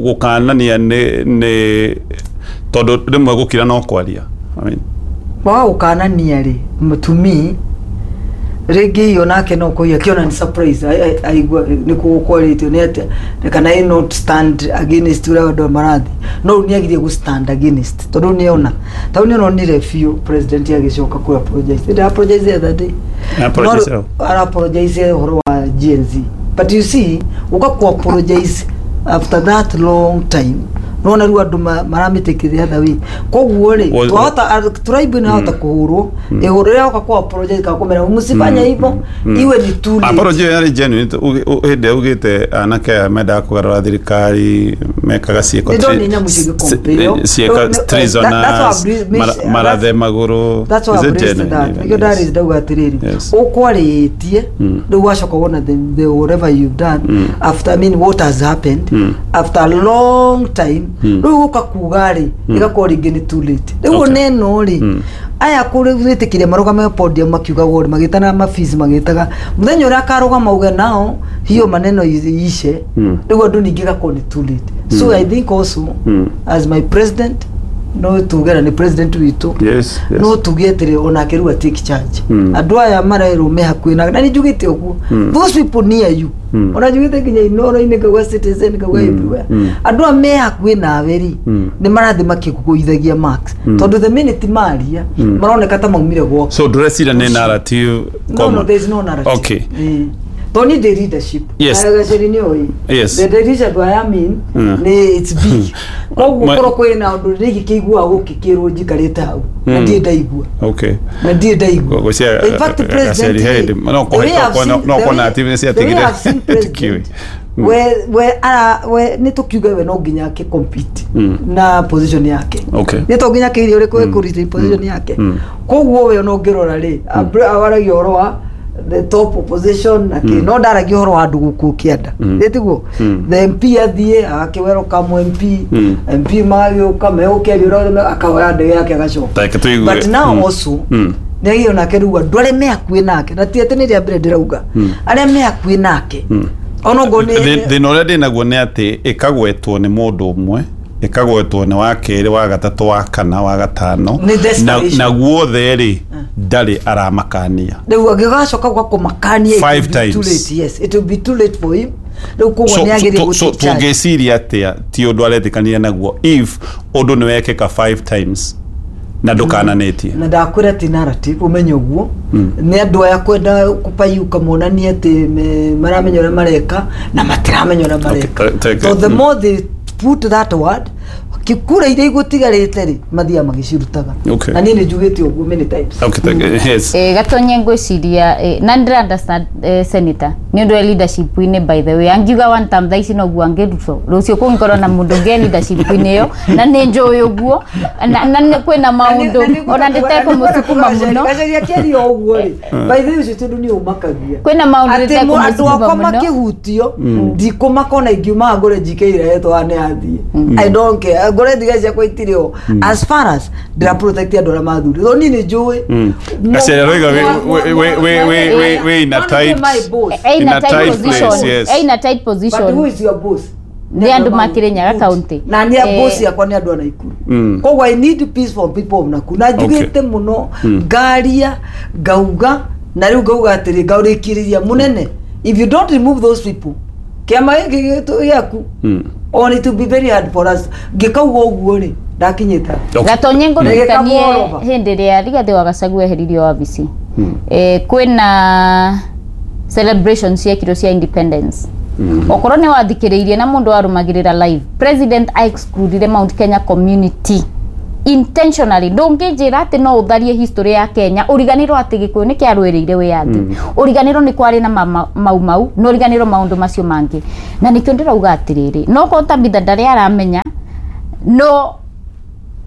gũkanania nĩ tondũ rĩmwe gũkira no kwaria, I mean, Kwaga gũkanania rĩ, to me rĩngĩ iyo nake no kũiya akĩona nĩ surprise, aigua nĩ kũgũkwarĩtio nĩ atĩa, kana I not stand against ũrĩa andũ marathi, no rĩu nĩ agĩrĩire gũ stand against, tondũ nĩ ona tondũ nĩ ononire biũ president agĩcoka kũ apologize. Did apologize the other day. Apologize No, how? Ara apologize ũhoro wa Gen Z, but you see, ũka ku apologize after that long time, nona rĩu andũ maramĩtĩkĩria the other way. Koguo rĩ, twahota tribe inahota kũhũrwo ĩhũrwo rĩrĩa oka ku apologize kana kũmera msifanye hivyo, iwe ni too late. Apology ĩyo yarĩ genuine, hĩndĩ ĩrĩa ugĩte anake aya mendaga kũgarũra thirikari mekaga ciĩko Nĩ ndonire nyamũ cigĩcompare. ciĩko That's why treasonous, marathe magũrũ. That's why Is I've it raised genuine that. even? Nĩkĩo ndarĩ ndauga atĩrĩrĩ, ũkwarĩtie rĩu wacoka wona the whatever you've done after, I mean, what has happened after a long time, rĩu ũka kuga rĩ, ĩgakorwo rĩngĩ nĩ too late rĩu. Oneno rĩ, aya kũrĩ gwĩtĩkĩria marũgame podium makiugagwo rĩ, magĩtana mafees, magĩtaga mũthenya ũrĩa akarũgama uge nao hiyo maneno ishe, rĩu andũ ningĩ ĩgakorwo nĩ too late. So I think also, as my president, no tuge na nĩ president witũ, no tuge atĩrĩ onake rĩu take charge. Andũ aya marerwo me hakuhĩ na nĩ njugĩte ũguo, those people near you, ona njugĩte nginya Inoro-inĩ, ngauga Citizen, ngauga everywhere, andũ aya me hakuhĩ nawe rĩ, nĩ marathiĩ makĩgũithagia marks, tondũ the minute maria maroneka ta maumire gwaku. So ndũreciria nĩ narrative? No, Common? no, there is no narrative. Tondũ niĩ ndĩ leadership. Na Gacheri nĩ oĩ the leadership I am in nĩ it's big, koguo korwo kwĩna ũndũ rĩngĩ kĩiguaga gũkĩkĩrwo njikarĩte hau na ndirĩ ndaigua, na ndirĩ ndaigua. Gwĩciria In fact, president Gacheri he hĩndĩ no the way I've seen- no the ko way- narrative nĩ the way ciatigire I've seen president, tikiũĩ. we ara we nĩ tũkiuge we no nginya akĩ compete na position yake, nĩ to nginya akĩirie ũrĩkũ ĩkũrite position yake. Koguo we ona ũngĩrora rĩ, awaragia ũhoro wa the top opposition na kĩ, no ndaragia ũhoro wa andũ gũkũ kĩanda, nĩ tiguo? The MP athiĩ agakĩweroka MP, MP magagĩũka megũkĩaria ũrĩa akaoya ndege yake agacoka. Reke tũigue. But now also nĩ agĩrĩirwo nake rĩu andũ arĩa me hakuhĩ nake, na ti atĩ nĩ rĩa mbere ndĩrauga, arĩa me hakuhĩ nake ona ũguo nĩ Thĩna ũrĩa ndĩ naguo nĩ atĩ ĩkagwetwo nĩ mũndũ ũmwe, ĩkagwetwo nĩ wa kerĩ, wa gatatũ, wa kana, wa gatano, Nĩ desperation. na guothe rĩ, ndarĩ aramakania. Rĩu angĩgacoka gwa kũmakania, it Five will be too times. late. Yes, it will be too late for him rĩu, koguo So- nĩ agĩrĩire so gũ take charge. tũngĩciria atĩa ti ũndũ aretĩkanire naguo if ũndũ nĩ wekĩka five times na ndũkananĩtie? Na ndakwĩra ti narrative, ũmenye ũguo nĩ andũ aya kwenda kũpayuka monanie atĩ maramenya ũrĩa mareka na matiramenya ũrĩa mareka. So the more they put that word, kura iria igũtigarĩte rĩ, mathiaga magĩcirutaga. Na niĩ nĩ njugĩte ũguo many times. Okay, thank you. Yes. Gatonye ngwiciria na ndĩra understand senator nĩ ũndũ wa leadership-inĩ. By the way, angiuga one term thaa ici noguo angĩrutwo rũciũ kũngĩkorwo na mũndũ ũngĩ e leadership-inĩ ĩyo, na nĩ njũĩ ũguo na kwĩna maũndũ ona ndĩtekũmũcukuma mũno. Gacheri akĩaria ũguo rĩ, by the way, ũcio tondũ nĩ ũmakagia Kwĩna maũndũ atĩ andũ ndĩtekũmũcukuma akwa mũno. makĩhutio ndikũmaka, ona ingiuma ngũre njikeire hetwo nĩ athiĩ, I don't care, ngũre thiga ciakwa itirĩ ho, as far as ndĩra protect andũ arĩa mathuri, tondũ niĩ nĩ njũĩ. Gacheri aroiga we in a tight in a tight place, position. Yes. In a tight position. But who is your boss? Nĩ andũ makĩrĩnyaga county. Na nĩ boss yakwa nĩ andũ a Nakuru. Koguo I need peace for people of Nakuru, na njugĩte mũno, ngaria ngauga, na rĩu ngauga atĩrĩ, ngaũrĩkĩrĩria mũnene, if you don't remove those people, Kĩama gĩkĩ gĩaku on it will be very hard for us. Ngĩkauga ũguo rĩ, ndakinyĩte. Gatonye ngũririkanie Ngĩkamworoba. hĩndĩ ĩrĩa Rigathĩ wa Gachagua eheririo wabici, kwĩna celebration ciekirwo cia independence. Okorwo nĩ wathikĩrĩirie na mũndũ warũmagĩrĩra live, president excludire Mount Kenya community intentionally. Ndũngĩnjĩra atĩ no ũtharie history ya Kenya ũriganĩrwo atĩ Gĩkũyũ nĩ kĩarũĩrĩire wĩyathi, ũriganĩrwo nĩ kwarĩ na mau mau, na ũriganĩrwo maũndũ macio mangĩ. Na nĩkĩo ndĩrauga atĩrĩrĩ, no korwo Tabitha ndarĩ aramenya, no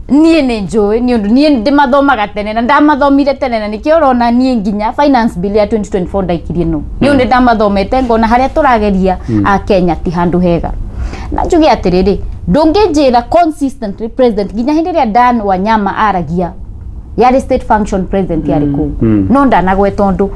niĩ nĩ njũĩ, nĩ ũndũ niĩ ndĩmathomaga tene na ndamathomire tene, na nĩkĩo ũrona niĩ nginya finance bill ya 2024 ndaikirie, no nĩ ũndũ ndamathomete ngona harĩa tũrageria a Kenya ti handũ hega. Na njuge atĩrĩrĩ, ndũngĩnjĩra consistently president, nginya hĩndĩ ĩrĩa Dan Wanyama aragia yarĩ state function, president yarĩ kũu, no ndanagweta ũndũ,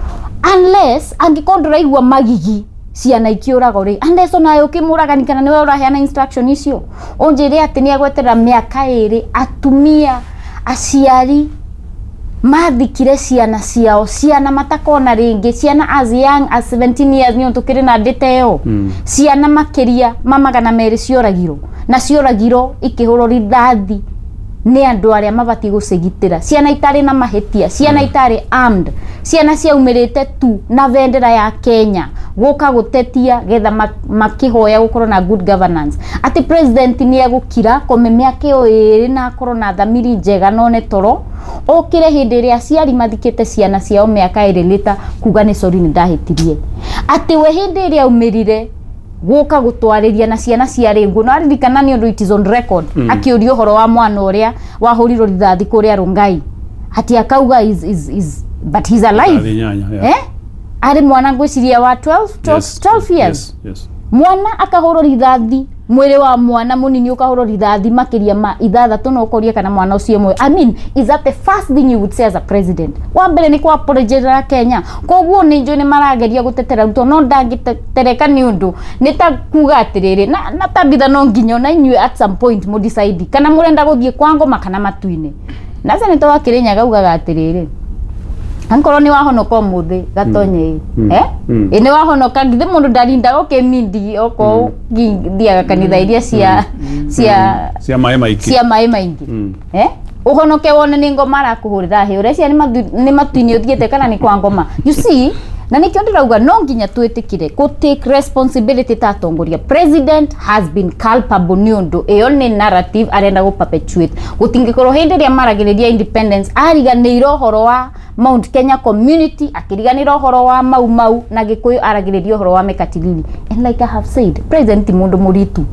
unless angĩkorwo ndũraigua magigi ciana ikiũragwo rĩ, unless onawe ũkĩmũragani kana nĩwe ũraheana instruction icio. Ũnjĩre atĩ nĩ agweterera mĩaka 2, atumia aciari mathikire ciana ciao, ciana matakona rĩngĩ, ciana as young as 17 years, nĩ ũndũ tũkĩrĩ na ndĩta ĩyo, ciana makĩria ma 200 cioragirwo, na cioragirwo ikĩhũrwo rithathi nĩ andũ arĩa mabatiĩ gũcigitĩra, ciana itarĩ na mahĩtia, ciana itarĩ armed, ciana ciaumĩrĩte tu na bendera ya Kenya gũka gũtetia getha makĩhoya gũkorwo na good governance. Atĩ president nĩ egũkira kome mĩaka ĩyo 2 na akorwo na thamiri njega none toro okire hĩndĩ ĩrĩa aciari mathikĩte ciana ciao mĩaka 2 lita kuga nĩ sorry nĩ ndahĩtirie. Atĩ we hĩndĩ ĩrĩa aumĩrire gũka gũtwarĩria na ciana ciarĩ nguo, no aririkana nĩ ũndũ it is on record, akĩũria ũhoro wa mwana ũrĩa wahũrirwo rithathi kũrĩa Rongai, ati akauga is but he's alive. 8, yeah. Arĩ mwana ngwĩciria wa 12 12, 12 years. Yes. Mwana akahũrwo rithathi, mwĩrĩ wa mwana mũnini ũkahũrwo rithathi makĩria ma 6, no ũkoria kana mwana ũcio mwe. I mean, is that the first thing you would say as a president? Wa mbere nĩ kwa apologize Kenya. Koguo nĩ njũĩ nĩ marageria gũtetera Ruto, no ndangĩtetereka nĩ ũndũ nĩ ta kuga atĩrĩrĩ, na Tabitha, no nginya ona inyuĩ at some point mũ decide kana mũrenda gũthiĩ kwa ngoma kana matu-inĩ. Na senator wa Kirinyaga augaga atĩrĩrĩ, ankorwo nĩ wahonoka ũmũthĩ, Gatonye, ĩ nĩ wahonoka, githĩ mũndũ ndarindaga ũkĩmindi okorwo thiaga kanitha iria cia cia maĩ maingĩ, cia maĩ maingĩ, ũhonoke wone nĩ ngoma arakũhũrĩra hĩ, ũreciria nĩ matu-inĩ ũthiĩte kana nĩ kwa ngoma? You see, na nĩkĩo ndĩrauga no nginya twĩtĩkire kũ take responsibility ta atongoria. President has been culpable nĩ ũndũ ĩyo nĩ narrative arenda gũ perpetuate. Gũtingĩkorwo hĩndĩ ĩrĩa maragĩrĩria independence ariganĩire ũhoro wa Mount Kenya community, akĩriganĩra ũhoro wa mau mau na Gĩkũyũ, aragĩrĩria ũhoro wa Mekatilili. And like I have said, president ti mũndũ mũritu.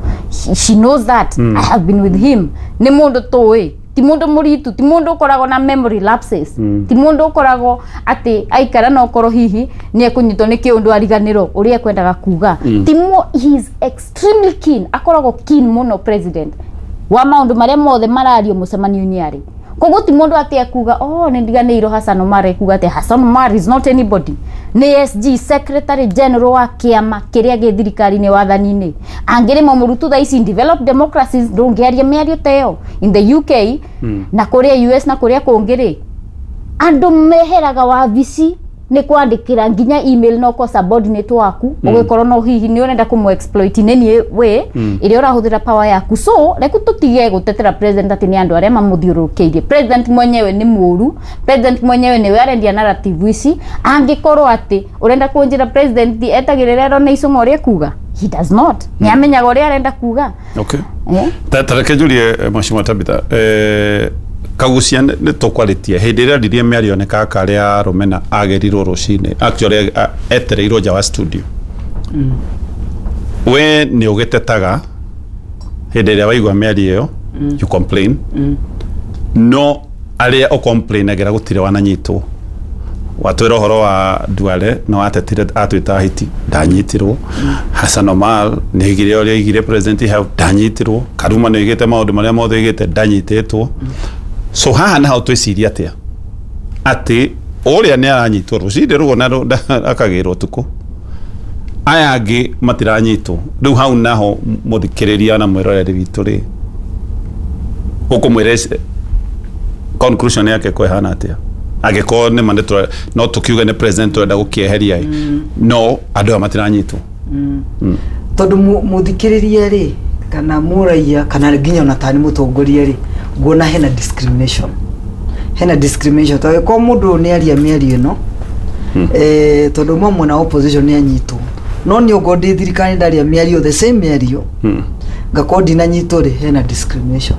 She knows that. I have been with him, nĩ mũndũ tũĩ ti mũndũ mũritu, ti mũndũ ũkoragwo na memory lapses, ti mũndũ ũkoragwo atĩ aikara na ũkorwo hihi nĩ ekũnyitwo nĩ kĩũndũ ariganĩrwo ũrĩa ekwendaga kuga. Ti he is extremely keen, akoragwo keen mũno president wa maũndũ marĩa mothe marario mũcemanio-inĩ arĩ. Koguo ti mũndũ atĩ ekuga, "Oh, nĩ ndiganĩirwo Hassan Omar." Ekuga atĩ Hassan Omar is not anybody, nĩ SG, secretary general wa kĩama kĩrĩa gĩ thirikari-inĩ, wathani-inĩ. Angĩrĩma mũrutu thaa ici in developed democracies ndũngĩaria mĩario ta ĩyo. In the UK na kũrĩa US na kũrĩa kũngĩ rĩ, andũ meheraga wabici nĩ kwandĩkĩra nginya email no ko subordinate waku, ũgĩkorwo no hihi nĩ ũrenda kũmũ exploit in any way ĩrĩa ũrahũthĩra power yaku. So reku tũtige gũtetera president atĩ nĩ andũ arĩa mamũthiũrũrũkĩirie. President mwenyewe nĩ mũru, president mwenyewe nĩwe arendia narrative ici. Angĩkorwo atĩ ũrenda kũnjĩra president etagĩrĩra ero nĩ icũng'a ũrĩa ekuga, he does not, nĩ amenyaga ũrĩa arenda kuga. Okay. Ta reke njurie, Mheshimiwa Tabitha, Kagucia nĩ tũkwarĩtie hĩndĩ ĩrĩa ndirie mĩario nĩ kaka arĩa Rũmena agĩrirwo rũcinĩ, actually etereirwo nja wa studio. We nĩ ũgĩtetaga hĩndĩ ĩrĩa waigua mĩario ĩyo, you complain, no arĩa ũcomplainagĩra gũtirĩ wananyitwo. Watwĩra ũhoro wa Duale no atetire atwĩta hiti, ndanyitirwo. Hassan Omar nĩ oigire ũrĩa oigire president hau, ndanyitirwo. Karuma nĩ oigĩte maũndũ marĩa mothe oigĩte, ndanyitĩtwo. So haha naho twĩciria atĩa atĩ ũrĩa nĩ aranyitwo rũcinĩ rũguo na akagĩrwo ũtukũ, aya angĩ matiranyitwo? Rĩu hau naho mũthikĩrĩria na mwĩroreri witũ rĩ, ũkũmwĩra conclusion yake ko ĩhana atĩa angĩkorwo nĩ ma no tũkiuge nĩ president ũrenda gũkĩeheria ĩ, no andũ aya matiranyitwo? Tondu muthikiriria ri kana muraia kana nginya ona tani mutongoria ri, nguona hena discrimination. Hena discrimination tondu ko mundu ni aria mĩario ĩno, tondu mamwe na opposition ni anyitwo, no ni ugo ndi thirikari ndaria mĩario the same mĩario, ngakorwo ndinanyitwo ri, hena discrimination.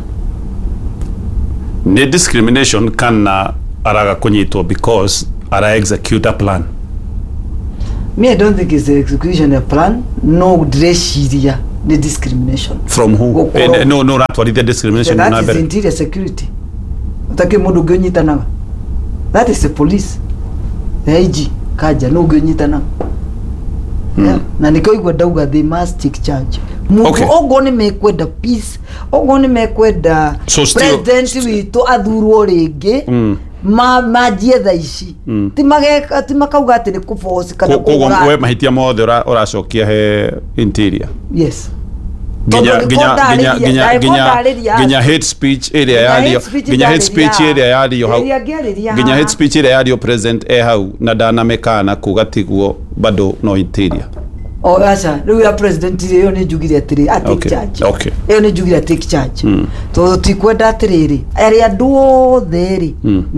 Nĩ discrimination kana araga kunyitwo because ara execute a plan? Me, I don't think it's the execution of plan. No, ndĩreciria nĩ discrimination. From who? Gũkorwo- No ũratwarithia discrimination That na is mbere. interior security. Ũtakĩrĩ mũndũ ũngĩ ũnyitanaga. That is the police, the IG Kanja, no ũngĩ ũnyitanaga. Yeah. Na nĩkĩo igua ndauga they must take charge. Mũndũ okorwo nĩ mekwenda peace, okorwo nĩ mekwenda So still- president witũ athurwo rĩngĩ, manjie thaa ici. Ti mageka, ti makauga atĩ nĩ kũforce kana Koguo kũgũra. we mahitia mothe ũracokia he interior? Yes. Nginya Tondũ nginya nĩko nginya nginya ndarĩria- nginya ndarĩria- nginya hate speech ĩrĩa Nginya yario, hate speech nginya hate speech ndarĩria. ĩrĩa yario hau, Ĩrĩa ngĩarĩria nginya haha. hate speech ĩrĩa yario president e hau na ndanamĩkana kuga tiguo, bado no interior? O aca, rĩu ya president rĩ, ĩyo nĩ njugire atĩrĩ a take charge. Ĩyo nĩ njugire a take charge, tondũ tikwenda atĩrĩrĩ arĩa andũ othe rĩ.